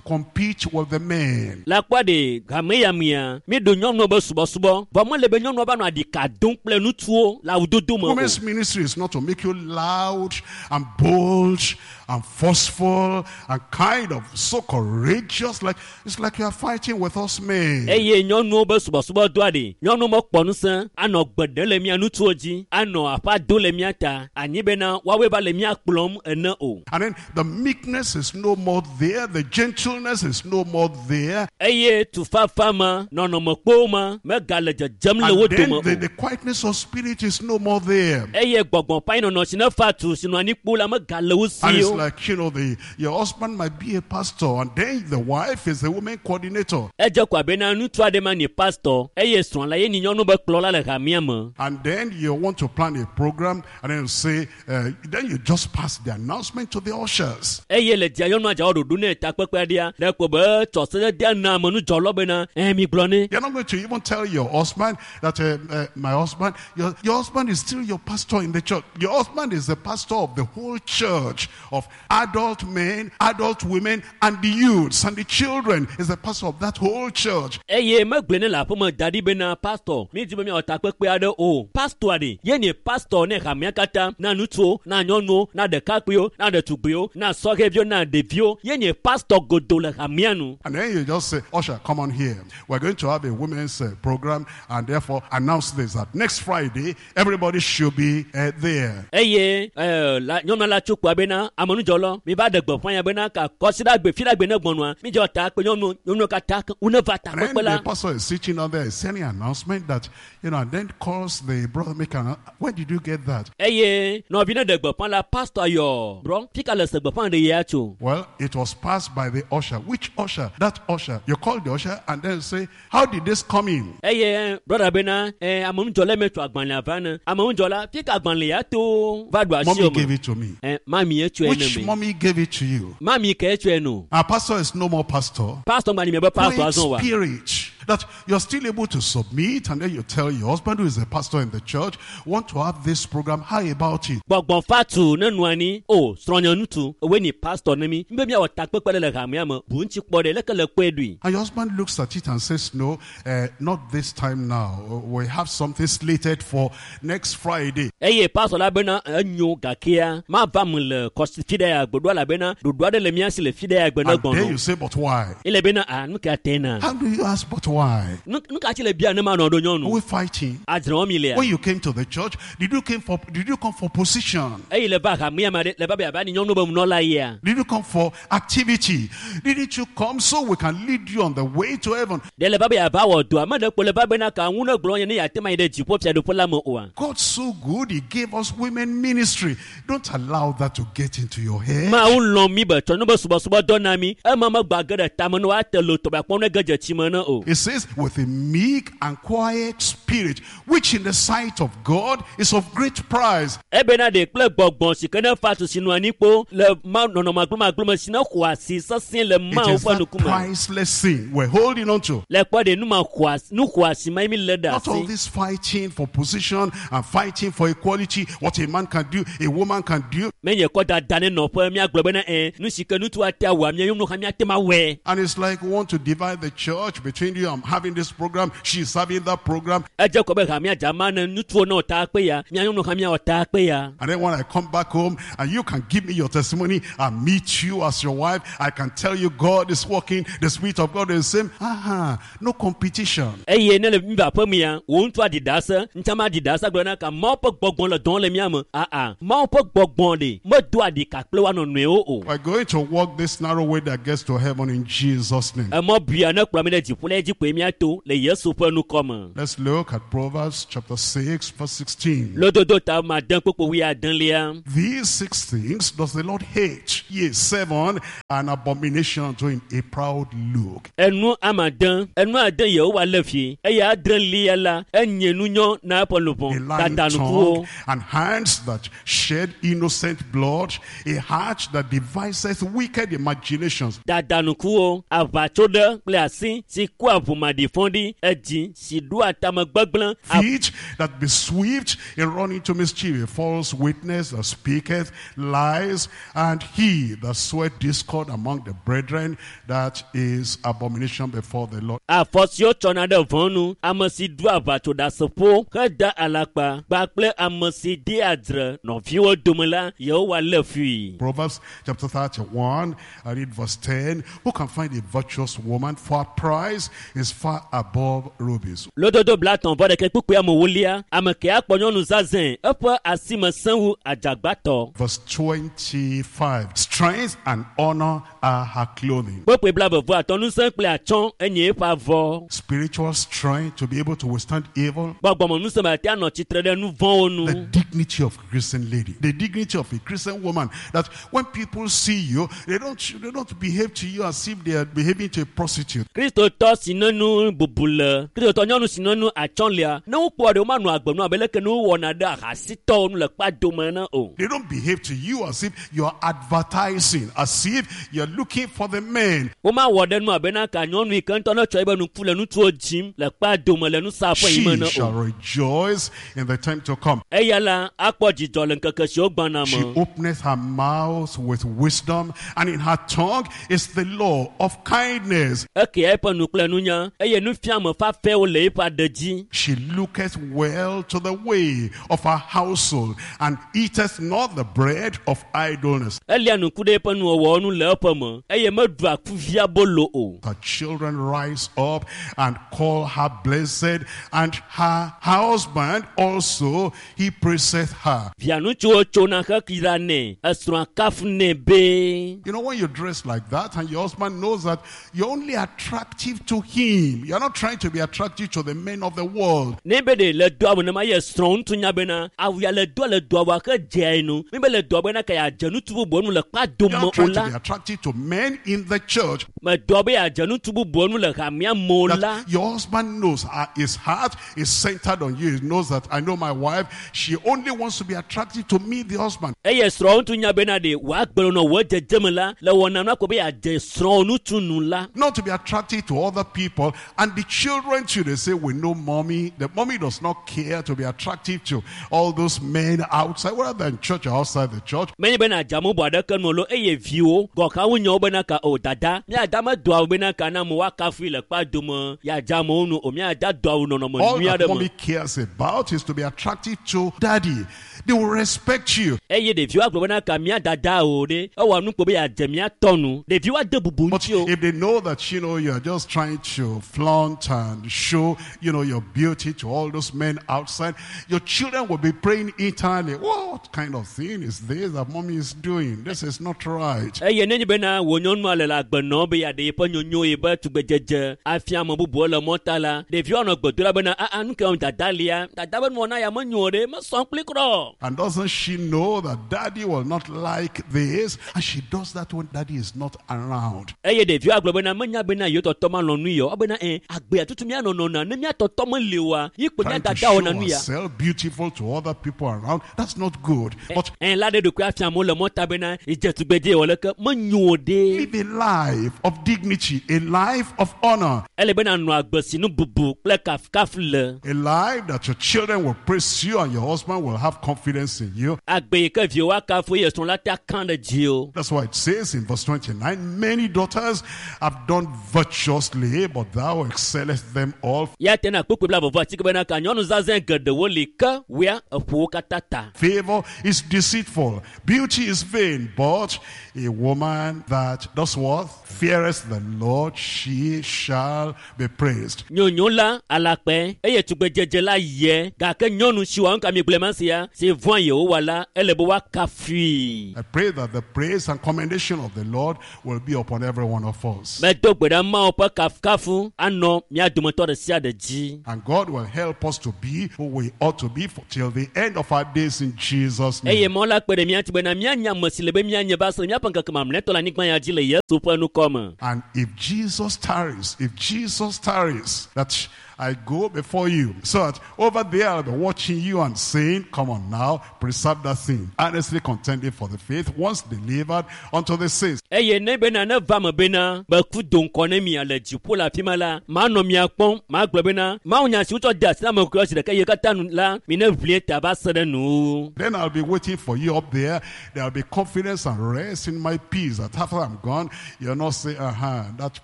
compete with the men. Le kpɔ ɖe hame ya mea mi ɖo nyɔnuwo be subɔsubɔ vɔ mele be nyɔnuwo va nɔ aɖika dom kple ŋutsuwo le awudodo me o. Women's ministry is not to make you loud and bold and forceful and kind of so courageous. Like it's like you are fighting with us men. eye nyɔnuwo be subɔsubɔdɔa ɖe nyɔnuwo mekpɔ ŋusẽ anɔ gbe ɖem le mia ŋutsuwo dzi anɔ aƒa do le mia ta anyi bena woawoe va le mia kplɔm ene o. And then the meekness is no more there, the gentleness is no more there. eye tufafa ma nɔnɔmekpowo ma megale dzedzem le wo And then dome o. the, the quietness of spirit is no more there. eye gbɔgbɔ ƒe anyinɔnɔ si ne fa tu si nɔ anyi kpo la megale wo And si it's o. like, you know, the your husband might be a pastor, and then the wife is the woman coordinator. edze ko abe na ŋutsu aɖe ma nye pastor eye srɔ̃ la ye nye nyɔnu be kplɔla le hamea me. And then you want to plan a program, and then you say, uh, then you just pass the announcement to the ushers. eye le dzia nyɔnua dza wɔ ɖoɖo ne takpekpe aɖea ɖe ko be tsɔ sededea na amenudzɔlɔ bena ɛ mi gblɔ ne. You're not going to even tell your husband that, uh, uh, my husband, your, your husband is still your pastor in the church. Your husband is the pastor of the whole church, of adult men, adult women, and the youths and the children. Is the pastor of that whole church. eye megblɔe ne le aƒeme da ɖi bena pastor mi di be miawɔ takpekpe aɖe o pastor ɖe ye nye pastor ne hamea katã na ŋutsuwo na nyɔnuwo na ɖekakpuiwo na ɖetugbiwo na sɔhɛviwo na ɖeviwo ye nye pastor godo le hamea nu. And then you just say, Usher, come on here. We're going to have a women's uh, program, and therefore announce this, that next Friday, everybody should be uh, there. eye ɛɛ la nyɔnua la tso kpoa bena amenudzɔlɔ mi va ɖe gbeƒã ya bena ka kɔsiɖagbe fiɖagbe ne gbɔnua mi dzɔ ta kpe nyɔnu nyɔnuwo katã wo ne va And then takpekpe the la. pastor is sitting down there, sending announcement that, you know, and then calls the brother maker. Where did you get that? eye nɔvi ne ɖe gbeƒã la pastor yɔ brɔ fika le se gbeƒã ɖe yia tso. Well, it was passed by the usher. Which usher? That usher. You call the usher and then say, how did this come in? eye brɔda bena ɛ amenudzɔla me tso agbalẽa va ne amenudzɔla fika agbalẽ ya to va ɖo asi Mommy o gave me it to me. ɛ mami ye tsɔe ne Which me mommy gave it to you? mami ke tsɔe no Our pastor is no more pastor. pastor gba ni mi be pastor Quiet azɔ wa spirit that you're still able to submit, and then you tell your husband, who is a pastor in the church, want to have this program. How about it? gbɔgbɔ fatu ne nɔ anyi o srɔ̃nye ŋutsu ewoe ni pastor ne mi mi be miawɔ takpekpe ɖe le hamea me bu ŋuti kpɔ ɖe leke le kpɔe ɖui. And your husband looks at it and says, no, uh, not this time now. We have something slated for next Friday. eye pastor la bena enyo gakea mava me le kɔsi fi ɖe ya gbe ɖo elabena ɖoɖo aɖe le mía si le fi ɖe ya gbe ne And then gbɔnɔ you say, but why? ele bena a nu ka te na How do you ask, but why? nu nu ka tsi le bia ne ma nɔ ɖo Are nyɔnu we fighting? adzre wɔm mi lea When you came to the church, did you came for did you come for position? eye le va hamea me ɖe le va be yava ni nyɔnu be nunɔla yia Did you come for activity? Didn't you come so we can lead you on the way to heaven? ɖe le va be yava wɔ dɔa me ɖe kpo le va bena ka ŋu ne gblɔ nye ne yeate ma yi ɖe dziƒo fiaɖuƒe la me oa God's so good, He gave us women ministry. Don't allow that to get into your head. mawu lɔ̃ mi be tsɔ nu be subɔsubɔdɔ na mi ema megba ge ɖe tame ne woate lo tɔgbe akpɔ ne ge dze tsi me ne o It says, with a meek and quiet spirit, which in the sight of God is of great price. ebena ɖe kple gbɔgbɔ si ke ne fa tu si nɔ anyi kpo le ma nɔnɔme agblɔmagblɔme si ne xɔ asi sesĩe le It mawu is ƒe that ŋkume priceless thing we're holding on to. le kpɔ ɖe nu ma xɔ asi nu xɔ asi ma ye mi lé ɖe Not all asi this fighting for position and fighting for equality, what a man can do, a woman can do. menye kɔ dada ne nɔƒe míagblɔ bena ɛ nu si ke ŋutsu ate awɔa mía nyɔnu hã míate ma wɔe And it's like we want to divide the church between you I'm having this program, she's having that program. Edze kɔ be hamea dzama ne ŋutsuwo ne wɔ ta kpe ya mía nyɔnu hã míawɔ ta kpe ya. And then when I come back home and you can give me your testimony, I meet you as your wife, I can tell you God is working, the Spirit of God is the same. Aha, no competition. Eye ne le mi va aƒe me ya wò ŋutsu aɖi ɖase ŋutsama aɖi ɖase gblɔ na ka Mawu ƒe gbɔgbɔ le dɔm le mía me aa Mawu ƒe gbɔgbɔ ɖe medoa ɖika kple woa nɔnɔewo o. We're going to walk this narrow way that gets to heaven in Jesus' name. Emɔ bia ne kplɔ mi ɖe dziƒo la dzi koe míato le Yesu ƒe nukɔ me. Let's look at Proverbs chapter six, verse sixteen. Lododo ta ma de kpokpo wuiadelia. These six things does the Lord hate, yea, seven, an abomination unto him, a proud look. Enu amade, enu ade Yehowa le fi eye adrelia la enye nunyɔ na eƒe A luʋɔ lying dadanukuwo. tongue and hands that shed innocent blood, a heart that deviseth wicked imaginations. Dadanukuwo, aʋatso ɖe kple asi si kua ʋumaɖifɔɖi, edzi si ɖoa tame gbegblẽ, Feet that be swift in running to mischief, a false witness that speaketh lies, and he that soweth discord among the brethren, that is abomination before the Lord. Afɔ siwo tsɔna ɖe vɔ̃ nu, ame si ɖoa aʋatsoɖaseƒo heda alakpa kpakple ame si dea dzre nɔviwo dome la, Yehowa lé fui. Proverbs chapter thirty-one, I read verse ten. Who can find a virtuous woman? For her price is far above rubies. Lododo blatɔ̃ vɔ ɖeke kpukpui amewolia, ame ke akpɔ nyɔnu zazɛ̃, eƒe asime sẽ wu adzagbatɔ. Verse twenty-five. Strength and honor are her clothing. Kpukpui blaeve vɔ atɔ̃ ŋusẽ kple atsyɔ̃ enye eƒe avɔ. Spiritual strength to be able to withstand evil. Gbɔgbɔmeŋusẽ be ate anɔ tsitre ɖe nu vɔ̃wo nu. The dignity of a Christian lady, the dignity of a Christian woman, that when people see you, they don't, they don't behave to you as if they are behaving to a prostitute. Kristotɔ si ne nu bubu le, Kristotɔ nyɔnu si ne nu atsyɔ̃ lia, ne wokpɔ ɖe womanɔ agbe nu abe leke ne wowɔna ɖe ahasitɔwo nu le kpadome ene o. They don't behave to you as if you're advertising, as if you're looking for the men. Womawɔ ɖe nu abe na ka nyɔnu yi ke ŋutɔ ne tsɔ eƒe nuku le ŋutsuwo dzim le kpadome le nusaƒe yi me She ene shall o. rejoice in the time to come. Eya la akpɔ dzidzɔ le ŋkeke siwo gbɔna She me. openeth her mouth with wisdom, and in her tongue is the law of kindness. Ekea eƒe nu kple nunya eye nufiame fafɛwo le eƒe aɖe dzi. She looketh well to the way of her household, and eateth not the bread of idleness. Elia nuku ɖe eƒe nuwɔwɔwo nu le eƒe me eye meɖua kuvia bolo o. Her children rise up and call her blessed, and her husband also, he praiseth her. Via ŋutsuwo tsona hekira nɛ, esrɔ̃a kafunɛ be. You know, when you dress like that and your husband knows that you're only attractive to him, you're not trying to be attractive to the men of the world. Ne be ɖe le doa me nema ye srɔ̃ ŋutsu nya bena awu ya le doa le doa wa ke dzea yi nu. Mi be le doa bena ka yeadze ŋutsu bubuwo nu le kpadome You're not o trying to la. be attractive to men in the church. Medoa be yeadze ŋutsu bubuwo nu le hamea me o la. That your husband knows uh, his heart is centered on you. He knows that I know my wife. She only wants to be attractive to me, the husband. Eye srɔ̃ ŋutsu nya bena ɖe wòagbe nɔ wò dzedzeme la le wɔna nu ako be yeadze srɔ̃ ŋutsu nu la. Not to be attractive to other people. And the children too, they say, we know mommy. The mommy does not care to be attractive to all those men outside, whether they're in church or outside the church. Menye bena adze ame bubu aɖeke nu o lo eye viwo gɔ̃ wonyawo bena ka o dada míada medoa awu bena ka na amewo woakafui le kpadome yeadze amewo nu o míada do awu nɔnɔme All nyui that aɖe mommy me. cares about is to be attractive to daddy. They will respect you. Eye ɖeviwo agblɔ bena ka mía dada o ɖe ewɔ nu kpo be yeadze mía tɔ nu ɖeviwo ade bubu But ŋuti o. if they know that, you know, you're just trying to flaunt and show, you know, your beauty to all those men outside, your children will be praying internally, what kind of thing is this that mommy is doing? This is not right. Eye nenye bena wò nyɔnua le le agbe nɔm be yeaɖe yeƒe nyonyo yeƒe tugbedzedze afia ame bubuwo le mɔta la ɖeviwo anɔ gbe dom ɖa bena aa nu ke wɔm dada lia dada be nuwɔna ya menyo o ɖe mesɔ kpli kura o. And doesn't she know that daddy will not like this? And she does that when daddy is not around. Eye ɖeviwo agblɔ bena menya bena yewo tɔtɔ malɔ̃ nu ya o ebena ɛ agbea tutu míanɔ nɔna ne mía tɔtɔ meli oa yi kpo mía Trying to dada show wɔna nu ya. herself beautiful to other people around, that's not good. But Ɛ la ɖe ɖokui afia amewo le mɔta bena edze tugbedze wɔ leke menyo o ɖe. live a life of dignity, a life of honor, Ele bena nɔ agbe si nu bubu kple kafukafu le. a life that your children will praise you and your husband will have confidence in you. Agbe yi ke viwo akafu eye srɔ̃ la te akã ɖe dzi o. That's why it says in verse twenty-nine, many daughters have done virtuously, but but thou excellest them all. Ya tena kpukpui blaeve vɔ atike bena ka nyɔnu zazẽ geɖewo li ke woea eƒo wo katã ta. Favor is deceitful, beauty is vain, but a woman that does what? Feareth the Lord, she shall be praised. Nyonyo la alakpɛ eye tugbedzedze la yɛ gake nyɔnu si wɔ nuka mi gblẽ ma sia si vɔ̃ Yehowa la ele be woakafui. I pray that the praise and commendation of the Lord will be upon every one of us. Medo gbe ɖa Mawu ƒe kafukafu anɔ mía dometɔ ɖe sia ɖe dzi. And God will help us to be who we ought to be for, till the end of our days in Jesus' Eye name. Mawu la kpe ɖe mía ŋuti bena míanya ame si le be míanye va se ɖe míaƒe ŋkeke mamlɛtɔ le anyigba ya dzi le Yesu ƒe ŋkɔ me. And if Jesus tarries, if Jesus tarries, that I go before you, so that over there I'll be watching you and saying, come on now, preserve that thing. Earnestly contending for the faith, once delivered unto the saints. Eye ne bena ne va me bena meku do ŋkɔ ne mia le dziƒo le afi ma la, manɔ mia kpɔm, magblɔ bena Mawu nya si wotsɔ de asi na ame kɔkɔewo zi ɖeka eye katã nu la, mi ne ʋlie ta va se ɖe nu. Then I'll be waiting for you up there. There'll be confidence and rest in my peace. That after I'm gone, you'll not say, uh-huh, that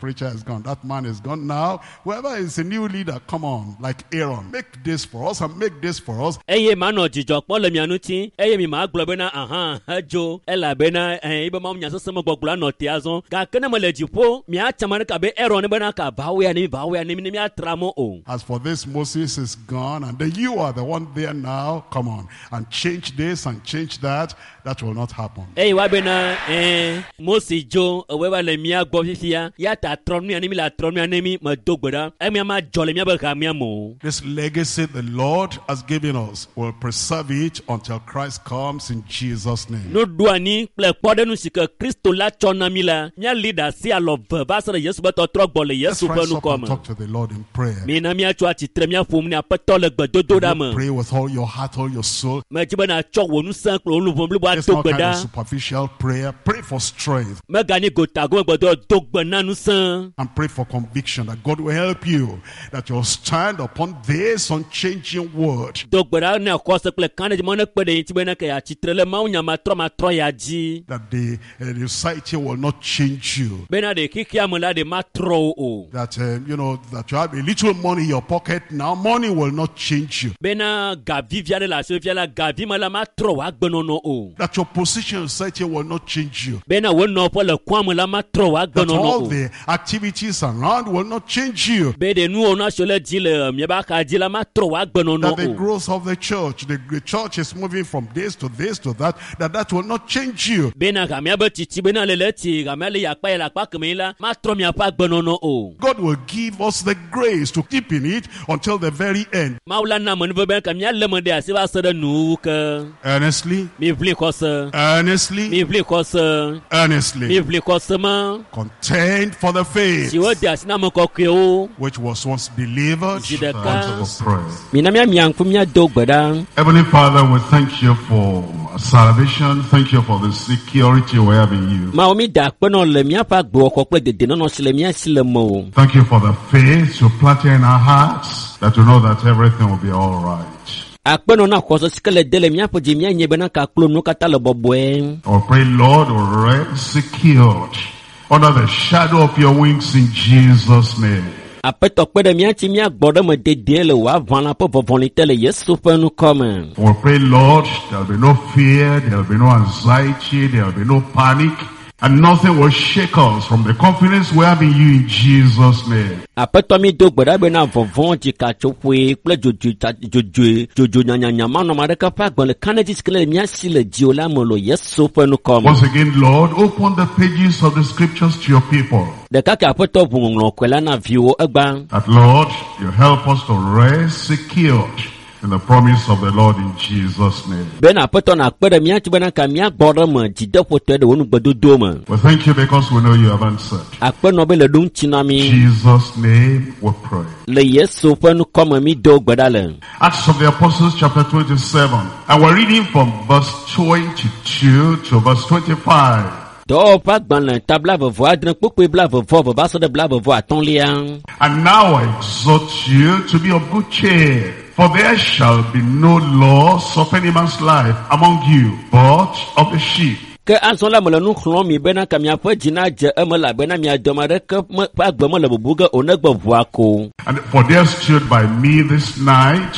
preacher is gone, that man is gone. Now, whoever is a new leader, come on, like Aaron, make this for us and make this for us. Eye manɔ dzidzɔ kpɔm le mia ŋuti, eye mi magblɔ bena aha edzo elabena ɛɛ ebe Mawu nya sesẽ me gbɔgblɔ anɔ te azɔ. Gake ne mele dziƒo, miatsa ame ɖeka abe Aaron ne bena ka va woya ne mi va woya ne mi ne miatra mɔ o. As for this, Moses is gone, and then you are the one there now. Come on, and change this and change that. That will not happen. Eye wa bena ɛɛ Mose dzo ewɔe va le mía gbɔ fifia ya ta trɔ nu ya ne mi le trɔ nu ya ne mi medo gbe ɖa emia ma dzɔ le míabe hamea me o. This legacy the Lord has given us will preserve it until Christ comes in Jesus' name. Nuɖoanyi kple kpɔɖeŋu si ke Kristo la tsɔ na mi la, míali ɖe asi alɔ ve va se ɖe Yesu ƒe tɔtrɔ gbɔ le Let's Yesu ƒe rise up ŋkɔ and me. talk to the Lord in prayer. Mina míatso atsitre míaƒo nu ne Aƒetɔ le gbedodoɖa me. Pray with all your heart, all your soul. Medzi be nàtsɔ wò ŋusẽ kple wò luʋɔ blibo It's ato not gbe kind of ɖa. superficial prayer. Pray for strength Meganyi gotagome gbedɔ do gbe na ŋusẽ. and pray for conviction that God will help you, that you'll stand upon this unchanging word. Do gbe ɖa ne xɔse kple kãɖedzi mɔ ne kpe ɖe ŋuti be ne ke yeatsitre le Mawu nya matrɔmatrɔ ya dzi. That the, uh, the society will not change you. Bena ɖe xexea me la ɖe matrɔ wo o. That, um, you know, that you have a little money in your pocket now, money will not change you. Bena gavi vi aɖe le asiwò fia la, gavi me la matrɔ wò agbenɔnɔ o. That your position in society will not change you. Bena wò nɔƒe le kɔa me la matrɔ wò That agbenɔnɔ all o. the activities around will not change you. Be ɖe nuwo na siwo le dzi le miaƒe axa dzi la matrɔ wò agbenɔnɔ That the o. growth of the church, the, the church is moving from this to this to that, that that will not change you. Bena hamea be tsitsi bena le le tsi hamea le yi akpa yi le akpa keme yi la matrɔ miaƒe agbenɔnɔ o. God will give us the grace to keep in it until the very end. Mawu la na amenuveve be ka míalé me ɖe asi va se ɖe nuwuwu ke. Earnestly, Miʋli xɔse, earnestly, miʋli xɔse, earnestly. miʋli xɔse ma Contend for the faith si wode asi na ame kɔkɔewo. which was once delivered Zi ɖeka. unto the saints. Mina míamia ŋku míado gbe ɖa. Heavenly Father, we thank you for salvation. Thank you for the security we have in you. Mawu mi da akpe nɔ le míaƒe agbewɔxɔ kple dedienɔnɔ si le mía si le mewò. Thank you for the faith you planted in our hearts that we know that everything will be all right. Akpe nɔ na xɔse si ke le de le míaƒe dzi míanye bena kaklo nuwo katã le bɔbɔe. We pray, Lord, will rest secured under the shadow of your wings in Jesus' name. Aƒetɔ kpe ɖe mía ŋuti míagbɔ ɖe me dedie le wò aʋalã ƒe vɔvɔli te le Yesu ƒe ŋkɔ me. We pray, Lord, there'll be no fear, there'll be no anxiety, there'll be no panic, and nothing will shake us from the confidence we have in you in Jesus' name. Aƒetɔ mi do gbe ɖa bena vɔvɔ̃, dzikatsoƒoe kple dzodzoe ta- dzodzoe dzodzo nyanyanya manɔme aɖeke ƒe agbe le kãɖedzi si ke le mía si le dziwò la me le Yesu ƒe ŋkɔ me. Once again, Lord, open the pages of the scriptures to your people. Ɖeka ke Aƒetɔ ʋu ŋɔŋlɔ kɔe la na viwò egbea. That, Lord, you help us to rest secured in the promise of the Lord in Jesus' name. Bena Aƒetɔ nakpe ɖe mía ŋuti bena ka míagbɔ ɖe me dzideƒotɔe ɖe wò nugbedodo me. We thank you because we know you have answered. Akpe nɔ be le ɖo ŋuti na mí. In Jesus' name we pray. Le Yesu ƒe ŋkɔ me mi do gbe ɖa le. Acts of the Apostles chapter twenty-seven. And we're reading from verse twenty-two to verse twenty-five. Dɔwɔƒe agbalẽ ta blaeve vɔ adre kpukpui blaeve vɔ eve va se ɖe blaeve vɔ atɔ̃lia. And now I exhort you to be of good cheer, for there shall be no loss of any man's life among you, but of the sheep. Ke azɔ la mele nu xlɔ̃m mi bena ka miaƒe dzi nadze eme elabena mia dome aɖeke me ƒe agbe mele bubu ge o negbe ʋua ko. And for there stood by me this night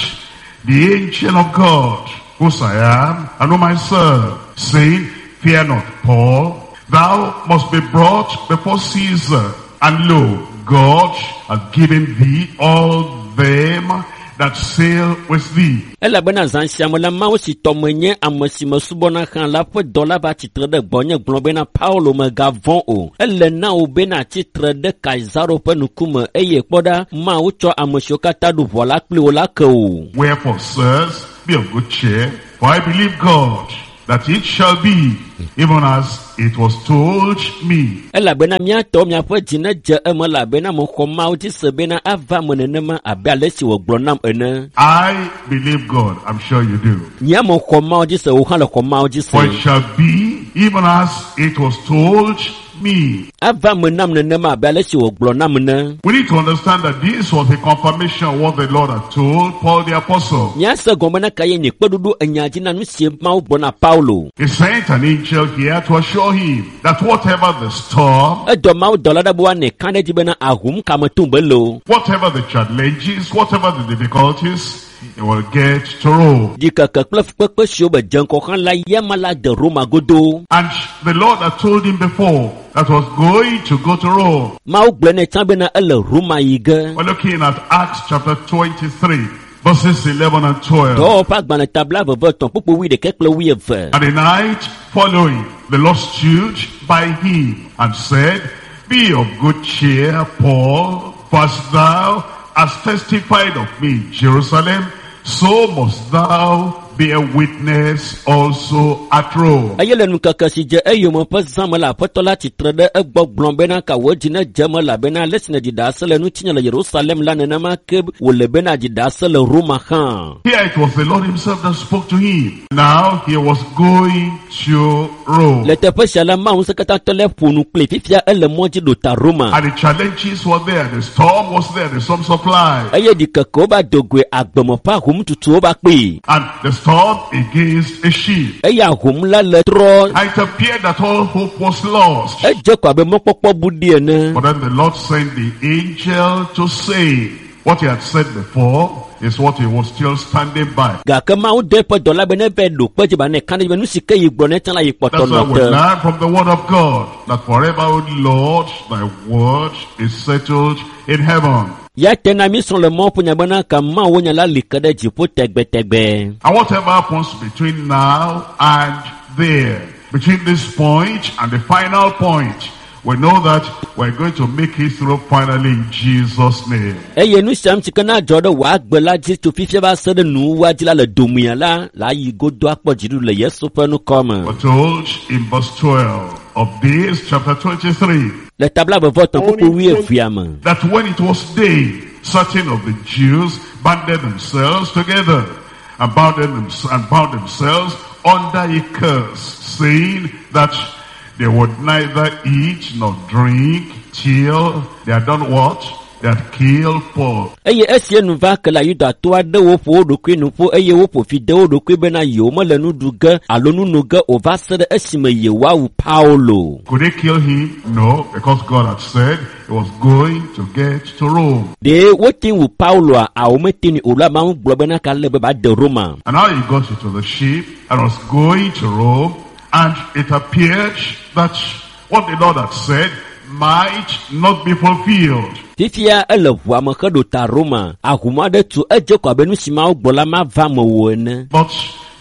the angel of God, whose I am, and whom I serve, saying, Fear not, Paul, thou must be brought before Caesar. And lo, God hath given thee all them that sail with thee. Elabena zã sia me la Mawu si tɔ menye ame si mesubɔna hã la ƒe dɔla va tsitre ɖe gbɔnye gblɔ bena Paulo mègavɔ̃ o. Ele na wò bena tsitre ɖe Kaisaro ƒe ŋkume eye kpɔ ɖa Mawu tsɔ ame siwo katã ɖu ʋɔ la kpli wò la ke wò. Wherefore, sirs, be of good cheer, for I believe God, that it shall be even as it was told me. Elabena míatɔ miaƒe dzi nedze eme elabena mexɔ Mawu dzi se bena ava me nenema abe ale si wògblɔ nam ene. I believe God, I'm sure you do. Nye mexɔ Mawu dzi se, wò hã le xɔ Mawu dzi For it se. shall be even as it was told me. Ava me nam nenema abe ale si wògblɔ nam ene. We need to understand that this was a confirmation of what the Lord had told Paul the apostle. Míase gɔme bena ka ye nye kpeɖuɖu enya dzi na nu si Mawu gblɔ na Paulo. He sent an angel here to assure him that whatever the storm, Edɔ Mawu dɔla ɖe be woanɛ ka ɖe edzi bena ahom ka me tum be le o. whatever the challenges, whatever the difficulties, he will get to Rome. Ɖikeke kple fukpekpe siwo be dze ŋgɔ hã la yama la de Roma godoo. And the Lord had told him before that was going to go to Rome. Mawu gblɔ nɛ tsã bena ele Roma yi ge. We're looking at Acts chapter twenty-three, verses eleven and twelve. Dɔwɔwɔ ƒe agbalẽ tabla veve etɔ̃ kpukpu wuiɖekɛ kple wuieve. And the night following, the Lord stood by him and said, Be of good cheer, Paul, for as thou hast testified of me in Jerusalem, so must thou bear witness also at Rome. Eye le ŋkeke si dze eyome ƒe zã me la aƒetɔ la tsitre ɖe egbɔ gblɔ bena ka wò dzi nedze eme elabena ale si nèɖi ɖase le ŋutinye le Yerusalem la nenema ke wòle bena ɖi ɖase le Roma hã. Here it was the Lord himself that spoke to him. Now he was going to Rome. Le teƒe sia la Mawu ŋusẽkatãtɔ la ƒo nu kpli fifia ele mɔ dzi ɖo ta Roma. And the challenges were there, the storm was there, the storm supply. Eye ɖikekewo va do goe agbeme ƒe ahomtutuwo va kpee. And the storm against a ship. Eye ahom la le trɔ. And it appeared that all hope was lost. Edze ko abe mɔkpɔkpɔ bu ɖi ene. But then the Lord sent the angel to say what he had said before is what he was still standing by. Gake Mawu dɔ eƒe dɔla be neva ɖo kpe dzi ba ne ka ɖe edzi be nu si ke yi gblɔ ne tsã la yi kpɔtɔ That's why nɔ we te. learn from the word of God that forever, O Lord, thy word is settled in heaven. Ya te na mi srɔ̃ le Mawu ƒe nya bena ka Mawu nya la li ke ɖe dziƒo tegbetegbe. And whatever happens between now and there, between this point and the final point, we know that we're going to make it through finally in Jesus' name. Eye nu sia nu si ke na dzɔ ɖe wò agbe la dzi tso fifia va se ɖe nuwuwua dzi la le domea la, la yi godo akpɔ dziɖuɖu le Yesu ƒe ŋkɔ me. We're told in verse twelve of this chapter twenty-three Le tabla veve etɔ̃ kpukpu wuievea me. that when it was day, certain of the Jews banded themselves together and bound, them, and bound themselves under a curse, saying that they would neither eat nor drink till they had done what? They had killed Paul. Eye esie nu va ke la Yudatɔ aɖewo ƒo wo ɖokui nu ƒu eye woƒo fi de wo ɖokui bena yewo mele nu ɖu ge alo nu no ge o va se ɖe esime yewoawu Paulo. Could they kill him? No, because God had said he was going to get to Rome. Ɖe wote wu Pauloa awo mete nui o la Mawu gblɔ bena ka le be ba de Roma. And now he got into the ship and was going to Rome, and it appeared that what the Lord had said might not be fulfilled. Fifia ele ʋua me heɖo ta Roma. Ahom aɖe tu edze ko abe nu si Mawu gblɔ la mava me o ene. But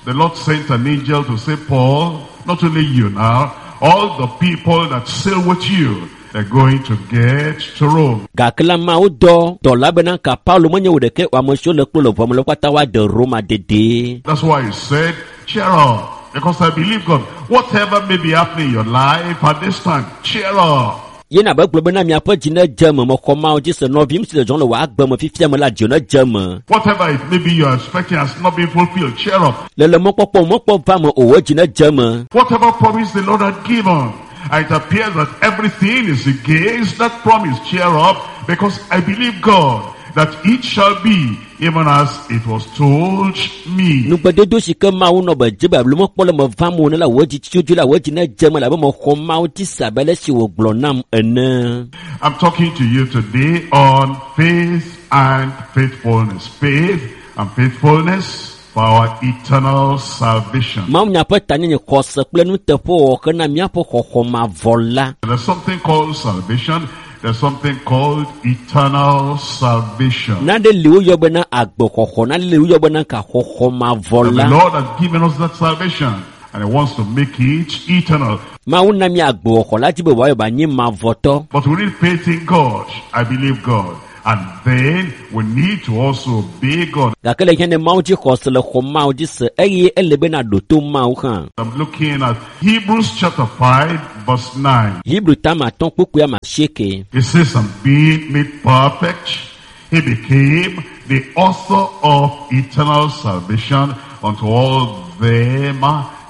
the Lord sent an angel to say, Paul, not only you now, all the people that sail with you, they're going to get to Rome. Gake la Mawu dɔ dɔla bena ka Paulo menye wo ɖeke o, ame siwo le kplo le ʋua me la wo katã woade Roma dedie. That's why he said, cheer up, because I believe God. Whatever may be happening in your life at this time, cheer up. Ye na be gblɔ bena miaƒe dzi nedze eme, mexɔ Mawu dzi se nɔvim si le dzɔm le wò agbe me fifia me la dzi nedze eme. Whatever it may be you are expecting has not been fulfilled, cheer up. Le le mɔkpɔkpɔ mɔkpɔ va me o, wò dzi nedze eme. Whatever promise the Lord had given, and it appears that everything is against that promise, cheer up, because I believe God that it shall be even as it was told me. Nugbedodo si ke Mawu nɔ be dze be alo mekpɔ le me vam o ne la wò dzi tsitsi la wò dzi ne dze me labe mexɔ Mawu dzi se abe ale si wògblɔ nam ene. I'm talking to you today on faith and faithfulness. Faith and faithfulness for our eternal salvation. Mawu nya ƒe tanyenye xɔse kple nuteƒewɔwɔ hena míaƒe xɔxɔ mavɔ la. There's something called salvation. There's something called eternal salvation. Nane li woyɔ bena agbexɔxɔ, nane li woyɔ bena kaxɔxɔ mavɔ And the la. Lord has given us that salvation, and He wants to make it eternal. Mawu na mí agbexɔxɔ la dzi be wòayɔ be anyi mavɔtɔ. But we need faith in God. I believe God. And then we need to also obey God. Gake le hiã ne Mawu dzi xɔse le xɔ Mawu dzi se eye ele bena ɖo to Mawu hã. I'm looking at Hebrews chapter five, verse nine. Hebrew tama atɔ̃ kpukpui ame asieke. It says, and being made perfect, he became the author of eternal salvation unto all them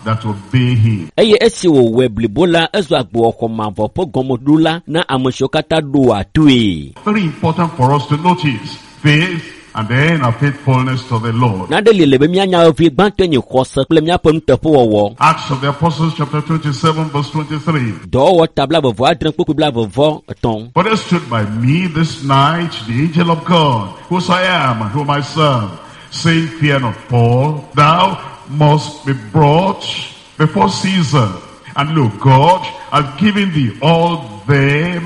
that obey him. Eye esi wòwɔe blibo la, ezu agbexɔxɔ mavɔ ƒe gɔmeɖola na ame siwo katã ɖoa toe. Very important for us to notice faith and then our faithfulness to the Lord. Nane li le be míanya vevi gbãtɔe nye xɔse kple míaƒe nuteƒewɔwɔ. Acts of the Apostles chapter twenty-seven verse twenty-three. Dɔwɔwɔ ta blaeve vɔ adre kpukpui blaeve vɔ etɔ̃. For there stood by me this night the angel of God, whose I am and whom I serve, saying, Fear not, Paul, thou must be brought before Caesar. And look, God hath given thee all them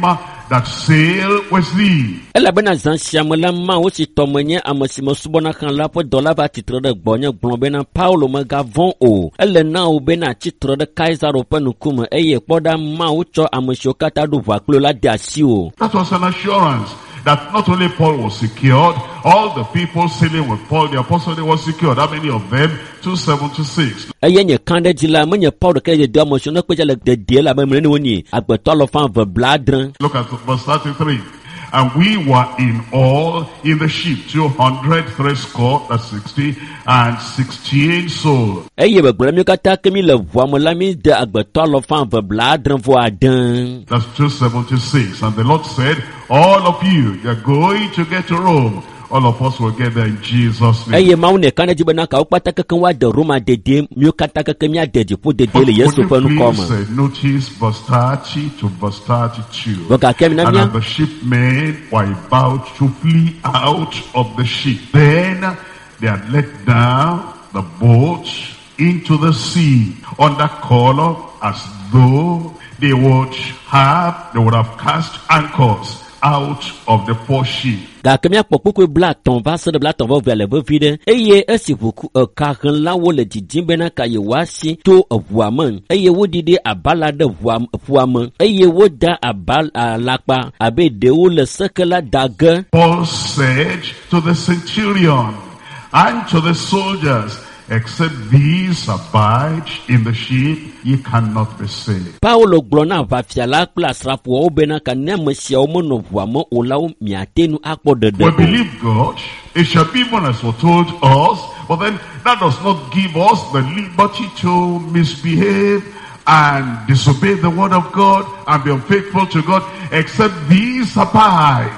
that sail with thee. Elabena zã sia me la, Mawu si tɔ menye ame si mesubɔna hã la ƒe dɔla va tsitre ɖe gbɔnye gblɔ bena Paulo megavɔ̃ o. Ele na wò bena tsitre ɖe Kaisaro ƒe ŋkume eye kpɔ ɖa Mawu tsɔ ame siwo katã ɖo ʋua kpli wò la de asiwò. That was an assurance that not only Paul was secured, all the people sailing with Paul the apostle, they were secured. How many of them? two seventy-six. Eye nye kã ɖe dzi la, menye Paul ɖeka ye do ame siwo ne kpe dze le dedie la be mene wonyi agbetɔ alafa eve blaadre. Look at verse thirty-three. And we were in all in the ship, two hundred threescore, that's sixty, and sixteen souls. Eye begblɔ mi katã ke mi le ʋua me la, mi de agbetɔ alafa eve blaadre vɔ ade. That's two seventy-six. And the Lord said, all of you, you're going to get to Rome. All of us will get there in Jesus' name. Eye Mawu ne ka ɖe dzi bena kawo kpata keke woade Roma dedie, míwo katã keke míade dziƒo dedie But le Yesu would ƒe you ŋkɔ please me. uh, notice verse thirty to verse thirty-two. Vɔ gake mina And mía as the shipmen were about to flee out of the ship, then they had let down the boat into the sea under color as though they would have, they would have cast anchors out of the foreship. Gake míakpɔ kpukpui blaetɔ̃ va se ɖe blaetɔ̃ vɔ evea le vevi ɖe. Eye esi ʋuku ekahlẽlawo le didim bena ka yewoasi to eʋua me eye woɖiɖi abala ɖe ʋua ƒua me eye woda aba alakpa abe ɖewo le seke la da ge. Paul said to the centurion and to the soldiers, except these abide in the ship, ye cannot be saved. Paulo gblɔ na aʋafia la kple asrafoawo bena ka ne ame siawo menɔ ʋua me o la, wo miate ŋu akpɔ ɖeɖe We o. believe God. It shall be even as foretold us, but then that does not give us the liberty to misbehave and disobey the word of God and be unfaithful to God. Except these abide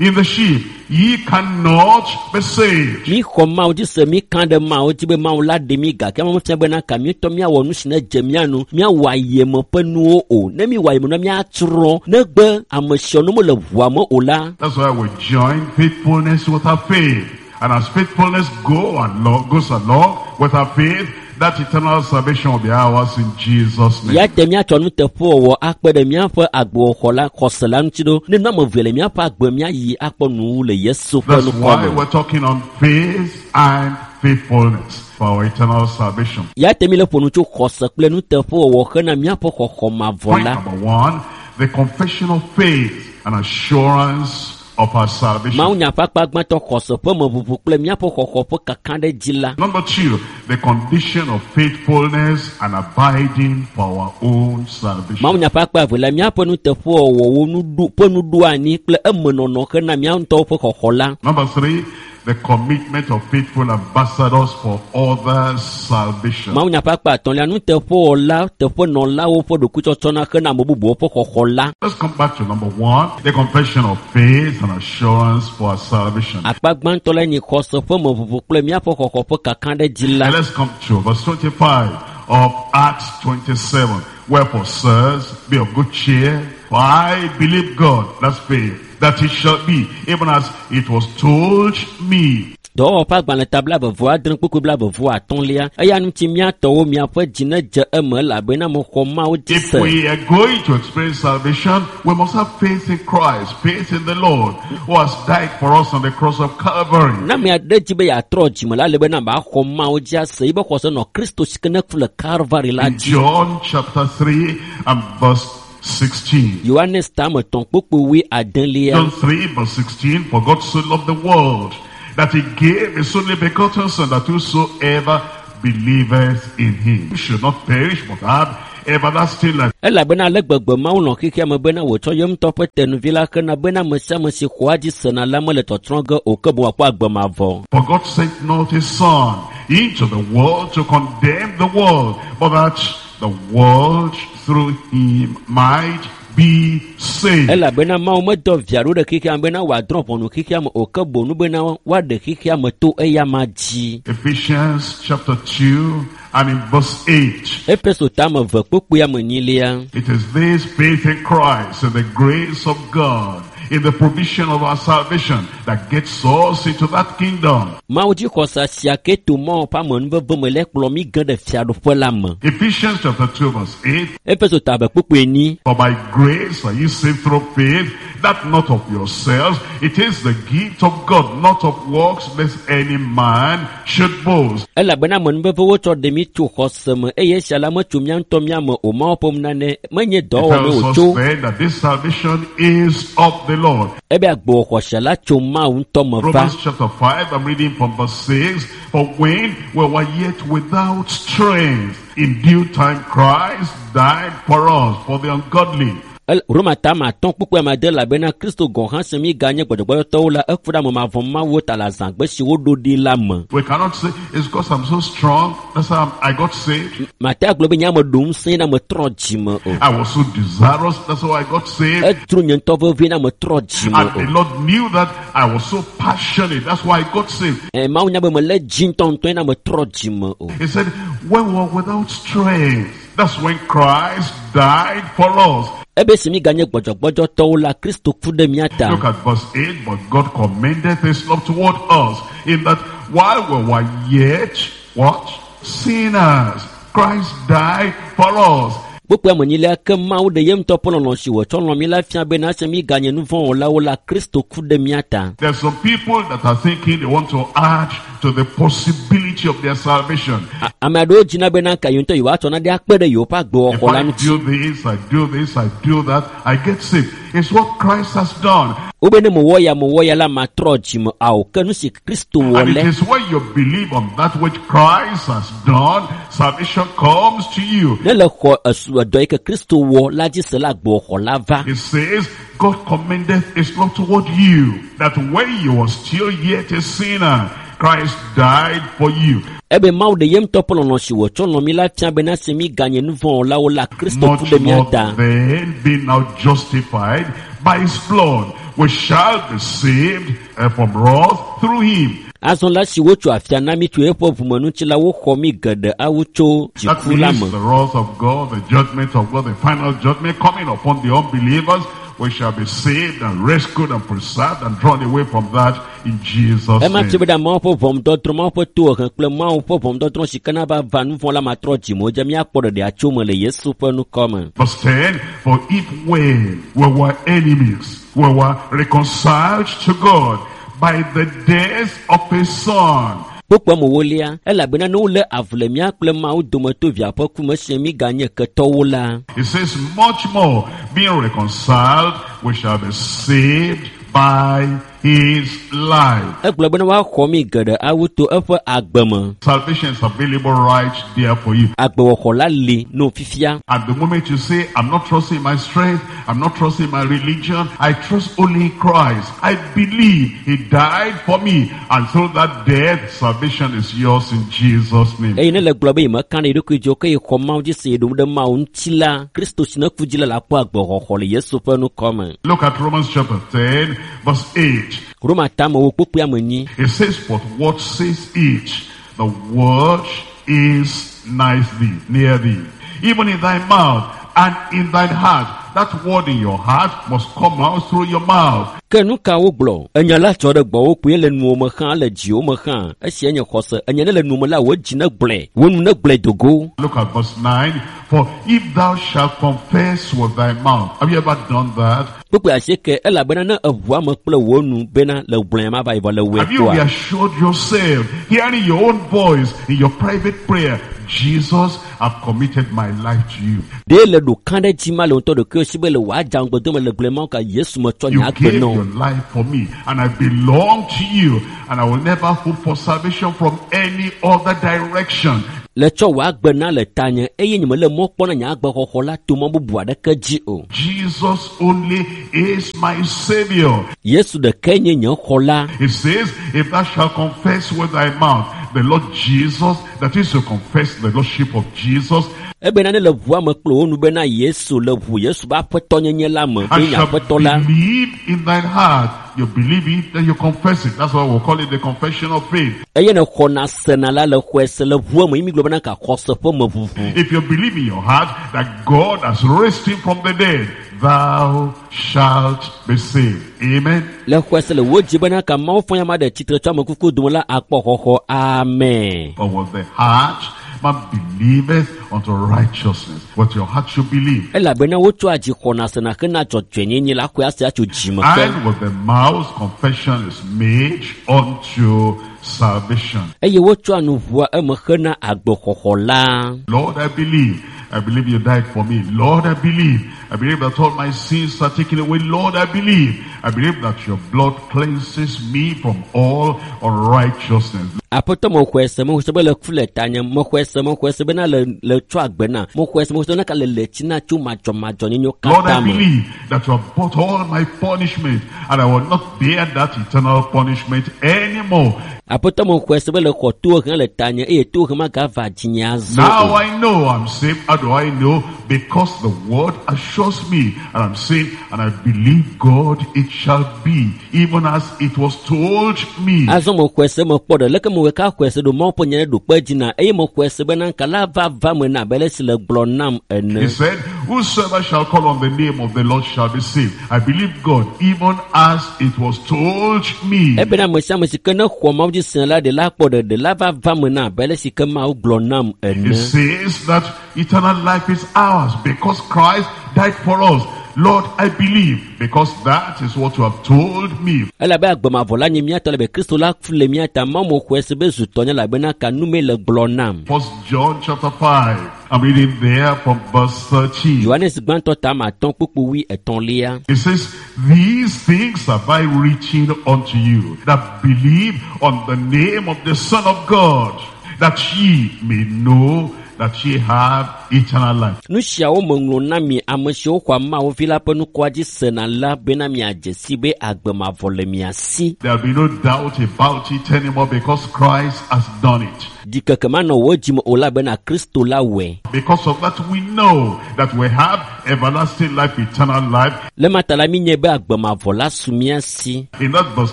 in the ship, ye cannot be saved. Mi xɔ Mawu dzi se, mi kã ɖe Mawu dzi be Mawu la ɖe mi gake mefia bena ka mi ŋutɔ míawɔ nu si ne dze mía nu, míawɔ ayeme ƒe nuwo o. Ne mi wɔ ayeme nua, míatsrɔ̃ negbe ame siawo ne mele ʋua me o la. That's why we join faithfulness with our faith. And as faithfulness go along, goes along with our faith, that eternal salvation will be ours in Jesus' name. Ya te míatsɔ nuteƒewɔwɔ akpe ɖe míaƒe agbewɔxɔ la xɔse la ŋuti ɖo. Ne nu ame eve le míaƒe agbe míayi akpɔ nuwu le Yesu ƒe That's ŋkɔ why me. we're talking on faith and faithfulness for our eternal salvation. Ya te mi le ƒo nu tso xɔse kple nuteƒewɔwɔ hena míaƒe xɔxɔ mavɔ Point la. number one, the confession of faith and assurance of our salvation. Mawu nya ƒe akpa gbãtɔ xɔse ƒe meʋuʋu kple míaƒe xɔxɔ ƒe kaka ɖe dzi la. Number two, the condition of faithfulness and abiding for our own salvation. Mawu nya ƒe akpa eve la, míaƒe nuteƒewɔwɔwo nuɖu ƒe nuɖoanyi kple emenɔnɔ hena mía ŋutɔwo ƒe xɔxɔ la. Number three, the commitment of faithful ambassadors for others' salvation. Mawunya ƒe akpa atɔ̃lia nuteƒewɔla teƒenɔlawo ƒe ɖokuitsɔtsɔna hena ame bubuwo ƒe xɔxɔ la. Let's come back to number one, the confession of faith and assurance for our salvation. Akpa gbãtɔ la nye xɔse ƒe meʋuʋu kple míaƒe xɔxɔ ƒe kakaɖedzi la. And let's come to verse twenty-five of Acts twenty-seven. Wherefore, sirs, be of good cheer, for I believe God, that's faith, that it shall be, even as it was told me. Dɔwɔwɔ ƒe agbalẽ ta blaeve adre kpukpui blaeve atɔ̃lia eya ŋuti míatɔwo miaƒe dzi nedze eme elabena mexɔ Mawu dzi If se. we are going to experience salvation, we must have faith in Christ, faith in the Lord, who has died for us on the cross of Calvary. Ne ame aɖe dzi be yeatrɔ dzime la, ele bena baxɔ Mawu dzi ase yibe xɔse nɔ Kristo si ke ne ku le Kalvari la In dzi. John chapter three and verse sixteen. Yohanes tame etɔ̃ kpukpui wui adelia. John three verse sixteen, for God so loved the world, that he gave his only begotten Son, that whosoever believeth in him should not perish, but have everlasting life. Elabena ale gbegbe Mawu lɔ̃ xexea me bena wòtsɔ ye ŋutɔ ƒe tenuvi la hena bena ame sia ame si xɔa dzi sena la mele tɔtrɔ ge o, ke boŋ wòakpɔ agbe mavɔ. For God sent not his Son into the world to condemn the world, but that the world through him might be saved. Elabena Mawu medɔ via ɖo ɖe xexea me bena wòadrɔ̃ ʋɔnu xexea me o, ke boŋ bena woaɖe xexea me to eyama dzi. Ephesians chapter two and in verse eight. Efeso tame eve kpukpui ame enyilia. It is this faith in Christ and the grace of God in the provision of our salvation that gets us into that kingdom. Mawu dzixɔse sia ke to Mawu ƒe amenuveve me le kplɔ mí ge ɖe fiaɖuƒe la me. Ephesians chapter two verse eight. Efeso tame kpukpui enyi. For by grace are you saved through faith, that not of yourselves. It is the gift of God, not of works, lest any man should boast. Elabena amenuveve wotsɔ ɖe mí tso xɔse me, eye esia la metso mía ŋutɔ mía me o. Mawu ƒe nunana menye It dɔwɔwɔ me tells wòtso. us then that this salvation is of the Lord. Ebe agbewɔxɔse la tso Mawu ŋutɔ me va. Romans chapter five, I'm reading from verse six. For when we were yet without strength, in due time Christ died for us, for the ungodly. El- Roma tame atɔ̃ kpukpui ame ade elabena Kristo gɔ̃ hã se mí ganye gbɔdzɔgbɔdzɔtɔwo la, eku ɖe ame mavɔ̃ Mawu ta le azãgbe si woɖo ɖi la me. We cannot say, it's because I'm so strong, that's how I'm, I got saved. Mate agblɔ be nye ame ɖo ŋusẽ na metrɔ dzime o. I was so desirous, that's how I got saved. Edro nye ŋutɔ vevie na metrɔ dzime And the o. Lord knew that I was so passionate, that's why I got saved. Ɛ, Mawu nya be melé dzi ŋutɔŋutɔe na metrɔ dzime o. He said, when we were without strength, that's when Christ died for us. Ebe si mí ganye gbɔdzɔgbɔdzɔtɔwo la, Kristo ku ɖe mía ta. Look at verse eight. But God commended his love toward us, in that while we were yet, what? Sinners, Christ died for us. Kpukpui ame enyilia ke Mawu ɖe ye ŋutɔ ƒe lɔlɔ̃ si wòtsɔ lɔ̃ mí la fia bena esi mí ganye nu vɔ̃ wɔlawo la, Kristo ku ɖe mía ta. There's some people that are thinking they want to add to the possibility of their salvation. A- Ame aɖewo dzina bena ka yewo ŋutɔ yewoatsɔ nane akpe ɖe yewoƒe If agbewɔxɔ la I ŋuti. do this, I do this, I do that, I get saved. It's what Christ has done. Wobe ne mewɔ ya mewɔ ya la matrɔ dzime ao ke nu si Kristo wɔ And it lɛ. is when you believe on that which Christ has done, salvation comes to you. Ne le xɔ esu edɔ yi ke Kristo wɔ la dzi se la agbewɔxɔ la va. It says, God commendeth his love toward you, that when you were still yet a sinner, Christ died for you. Ebe Mawu ɖe ye ŋutɔ ƒe lɔlɔ̃ si wòtsɔ lɔ̃ mí la fia bena esi mí ganye nu vɔ̃ wɔlawo la, Kristo ku Much ɖe mía more ta. then, being now justified by his blood, we shall be saved eh, from wrath through him. Azɔ la si wotso afia na mí tso eƒe ʋumeŋuti la, woxɔ mí geɖe awu tso That dziku la means me. the wrath of God, the judgment of God, the final judgment coming upon the unbelievers, we shall be saved and rescued and preserved and drawn away from that in Jesus' Ema fia name. be ɖe Mawu ƒe ʋɔnudɔdrɔ̃, Mawu ƒe tohehe kple Mawu ƒe ʋɔnudɔdrɔ̃ si ke nava va nu vɔ̃ la matrɔ dzime o, dze míakpɔ ɖeɖea tso me le Yesu ƒe ŋkɔ me. Verse ten, for if when we were enemies, we were reconciled to God by the death of his Son, Kpukpui amewolia, elabena ne wolé avu le mía kple Mawu dome to via ƒe ku me esi mí ganye ketɔwo la, it says much more, being reconciled, we shall be saved by his life. Egblɔ bena woaxɔ mi geɖe awu to eƒe agbe me. Salvation is available right there for you. Agbewɔxɔ la li no fifia. At the moment you say, I'm not trusting my strength, I'm not trusting my religion, I trust only in Christ. I believe he died for me, and through that death, salvation is yours in Jesus' name. Eye ne le gblɔ be yemeka ɖe eɖokui dzi o ke yexɔ Mawu dzi se ye ɖom ɖe Mawu ŋuti la, Kristo si ne ku dzi la le akpɔ agbexɔxɔ le Yesu ƒe ŋkɔ me. Look at Romans chapter ten, verse eight. Roma tamewo kpukpui ame enyi. It says, but what says it? The word is nigh thee, near thee, even in thy mouth and in thine heart. That word in your heart must come out through your mouth. Ke nu ka wogblɔ? Enya la tsɔ ɖe gbɔwò kpoe le nuwo me hã, le dziwo me hã. Esia nye xɔse. Enya ne le nu me la, wò dzi ne gblɔe, wò nu ne gblɔe dogo. Look at verse nine. For if thou shalt confess with thy mouth. Have you ever done that? Kpukpui asieke, elabena ne eʋu ame kple wò nu bena le gblɔe ma va yi vɔ le wòe Have you kpɔa? reassured yourself, hearing your own voice in your private prayer, Jesus, I've committed my life to you. Ɖe le ɖo ka ɖe dzi ma le ŋutɔ ɖokuiwò si be le wò adzãgbedome le gblɔe ma ka Yesu metsɔ You nye agbe gave na wò. your life for me, and I belong to you, and I will never hope for salvation from any other direction. Le tsɔ wò agbe na le tanye eye nye mele mɔ kpɔm na nye agbexɔxɔ la to mɔ bubu aɖeke dzi o. Jesus only is my Savior. Yesu ɖekae nye nye xɔla. It says, if thou shalt confess with thy mouth the Lord Jesus, that is to confess the Lordship of Jesus, Ebena ne le ʋua me kple wò nu bena Yesu le ʋu Yesu ƒe aƒetɔnyenye la me, be and nye shalt aƒetɔ la. believe in thine heart. You believe it, then you confess it. That's why we call it the confession of faith. Eye ne xɔna sena la le xɔe se le ʋua me, ye mi gblɔ bena ka xɔse ƒe meʋuʋu. If you believe in your heart that God has raised him from the dead, thou shalt be saved. Amen. Le xɔe se le wò dzi bena ka Mawu fɔ ya ma ɖe tsitre tso ame kuku dome la akpɔ xɔxɔ. Amen. But with the heart man believeth unto righteousness. What your heart should believe. Elabena wotsɔa dzi xɔna sena hena dzɔdzɔenyenye la xɔe ase atso dzime ke. And with the mouth confession is made unto salvation. Eye wotsɔa nu ʋua eme hena agbexɔxɔ la. Lord, I believe. I believe you died for me. Lord, I believe. I believe that all my sins are taken away. Lord, I believe. I believe that your blood cleanses me from all unrighteousness. Aƒetɔ mexɔe se, mexɔe se be le ku le tanye, mexɔe se, mexɔe se bena le, le tsɔ agbe na, mexɔe se, mexɔe se bena ka le le tsi na tso madzɔmadzɔnyenyewo Lord, I katã me. believe that you have bought all my punishment and I will not bear that eternal punishment anymore. Aƒetɔ mexɔe se be le xɔ tohehe le tanye eye tohehe magava dzinye azɔ Now o. I know I'm saved. How do I know? Because the word assures me, and I'm saved, and I believe God it shall be, even as it was told me. Azɔ mexɔe se mekpɔ ɖe leke mewɔe ka xɔe se ɖo Mawu ƒe nya ɖe ɖo kpe dzi na eye mexɔe se bena nka la va va me na abe ale si le gblɔ nam ene. He said, whosoever shall call on the name of the Lord shall be saved. I believe God, even as it was told me. Ebena ame sia ame si ke ne xɔ Mawu dzi se la ɖe la kpɔ ɖeɖe la va va me na abe ale si ke Mawu gblɔ nam ene. It says that eternal life is ours because Christ died for us. Lord, I believe because that is what you have told me. Elabe agbemavɔ la nye mía tɔ elabe Kristo la ku le mía ta. Mawu mexɔe se be zu tɔnye elabena ka nu mee le gblɔ nam. First John chapter five. I'm reading there from verse thirteen. Yohanes gbãtɔ ta ame atɔ̃ kpukpui wui etɔ̃lia. It says, these things have I written unto you that believe on the name of the Son of God, that ye may know that ye have eternal life. Nu siawo meŋlɔ na mi ame siwo xɔa Mawu vi la ƒe nukua dzi sena la bena miadze si be agbemavɔ le mia si. There will be no doubt about it anymore because Christ has done it. Ɖikeke manɔ wò dzime o la bena Kristo la wɔe. Because of that we know that we have everlasting life, eternal life. Le ma ta la mi nye be agbemavɔ la su mía si. In that verse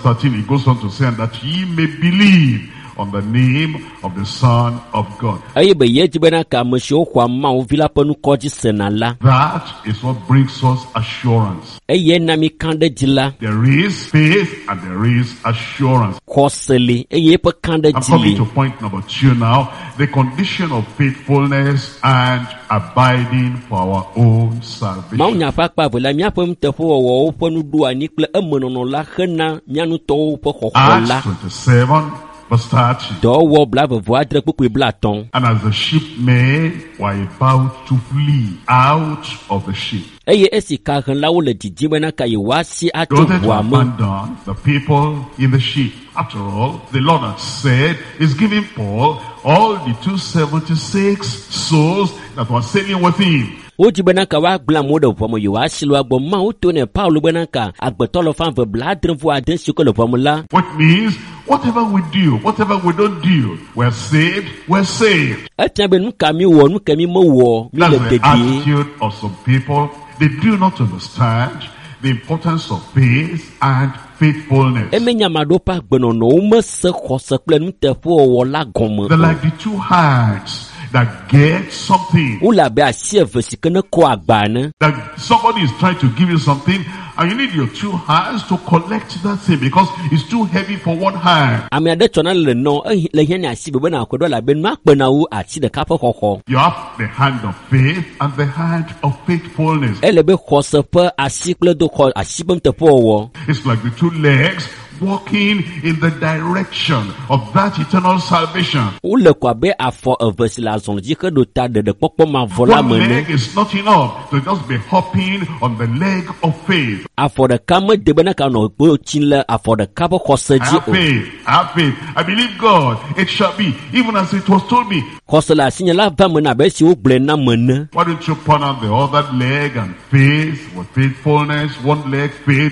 thirteen, it goes on to say, and that ye may believe on the name of the Son of God. Eye be ye dzi bena ka ame siwo xɔa Mawu vi la ƒe nukɔ dzi sena la. That is what brings us assurance. Eye na mi ka ɖe dzi la. There is faith and there is assurance. Xɔse li eye eƒe ka ɖe I'm dzi li. coming to point number two now. The condition of faithfulness and abiding for our own salvation. Mawunya ƒe akpa eve la, míaƒe nuteƒewɔwɔwo ƒe nuɖoanyi kple emenɔnɔ la hena mía ŋutɔwo ƒe xɔxɔ la. Acts twenty-seven, verse thirty. Dɔwɔwɔ blaeve vɔ adre kpukpui blaatɔ̃. And as the shipmen were about to flee out of the ship, Eye esi kahlẽlawo le didim bena ka yewoasi they atso wanted to ʋua me. abandon the people in the ship. After all, the Lord had said, is giving Paul all the two hundred seventy-six souls that were sailing with him. Wodzi bena ka woagblẽ amewo ɖe ʋua me yewoasi le woagbɔ. Mawu to ne Paulo bena ka agbetɔ lɔfa eve blaadre vɔ ade siwo ke le ʋua me la. Which means, whatever we do, whatever we don't do, we're saved, we're saved. Efia be nu ka mi wɔ, nu ka mi mewɔ, mi That's le the dedie. attitude of some people. They do not understand the importance of faith and faithfulness. Eme nya ame aɖewo ƒe agbenɔnɔ womese xɔse kple nuteƒewɔwɔ la gɔme They're o. like the two hands that get something. Wole abe asi eve si ke ne kɔ agba ene. That somebody is trying to give you something and you need your two hands to collect that thing because it's too heavy for one hand. Ame aɖe tsɔna le nɔ ehi le hiã ne asi be bena akɔe ɖo elabe nua kpena wu asi ɖeka ƒe xɔxɔ. You have the hand of faith and the hand of faithfulness. Ele be xɔse ƒe asi kple do xɔ asi ƒe nuteƒewɔwɔ. It's like the two legs walking in the direction of that eternal salvation. Wole ko abe afɔ eve si le azɔli dzi heɖo ta ɖeɖekpɔkpɔ mavɔ la One me ene. leg is not enough to just be hopping on the leg of faith. Afɔ ɖeka mede bena ka nɔ kpo tsi le afɔ ɖeka ƒe xɔse I dzi have o. faith. I have faith. I believe God. It shall be, even as it was told me. Xɔse le asinye la va me na abe esi wogblɔe nam ene. Why don't you point out the other leg and faith with faithfulness? One leg faith,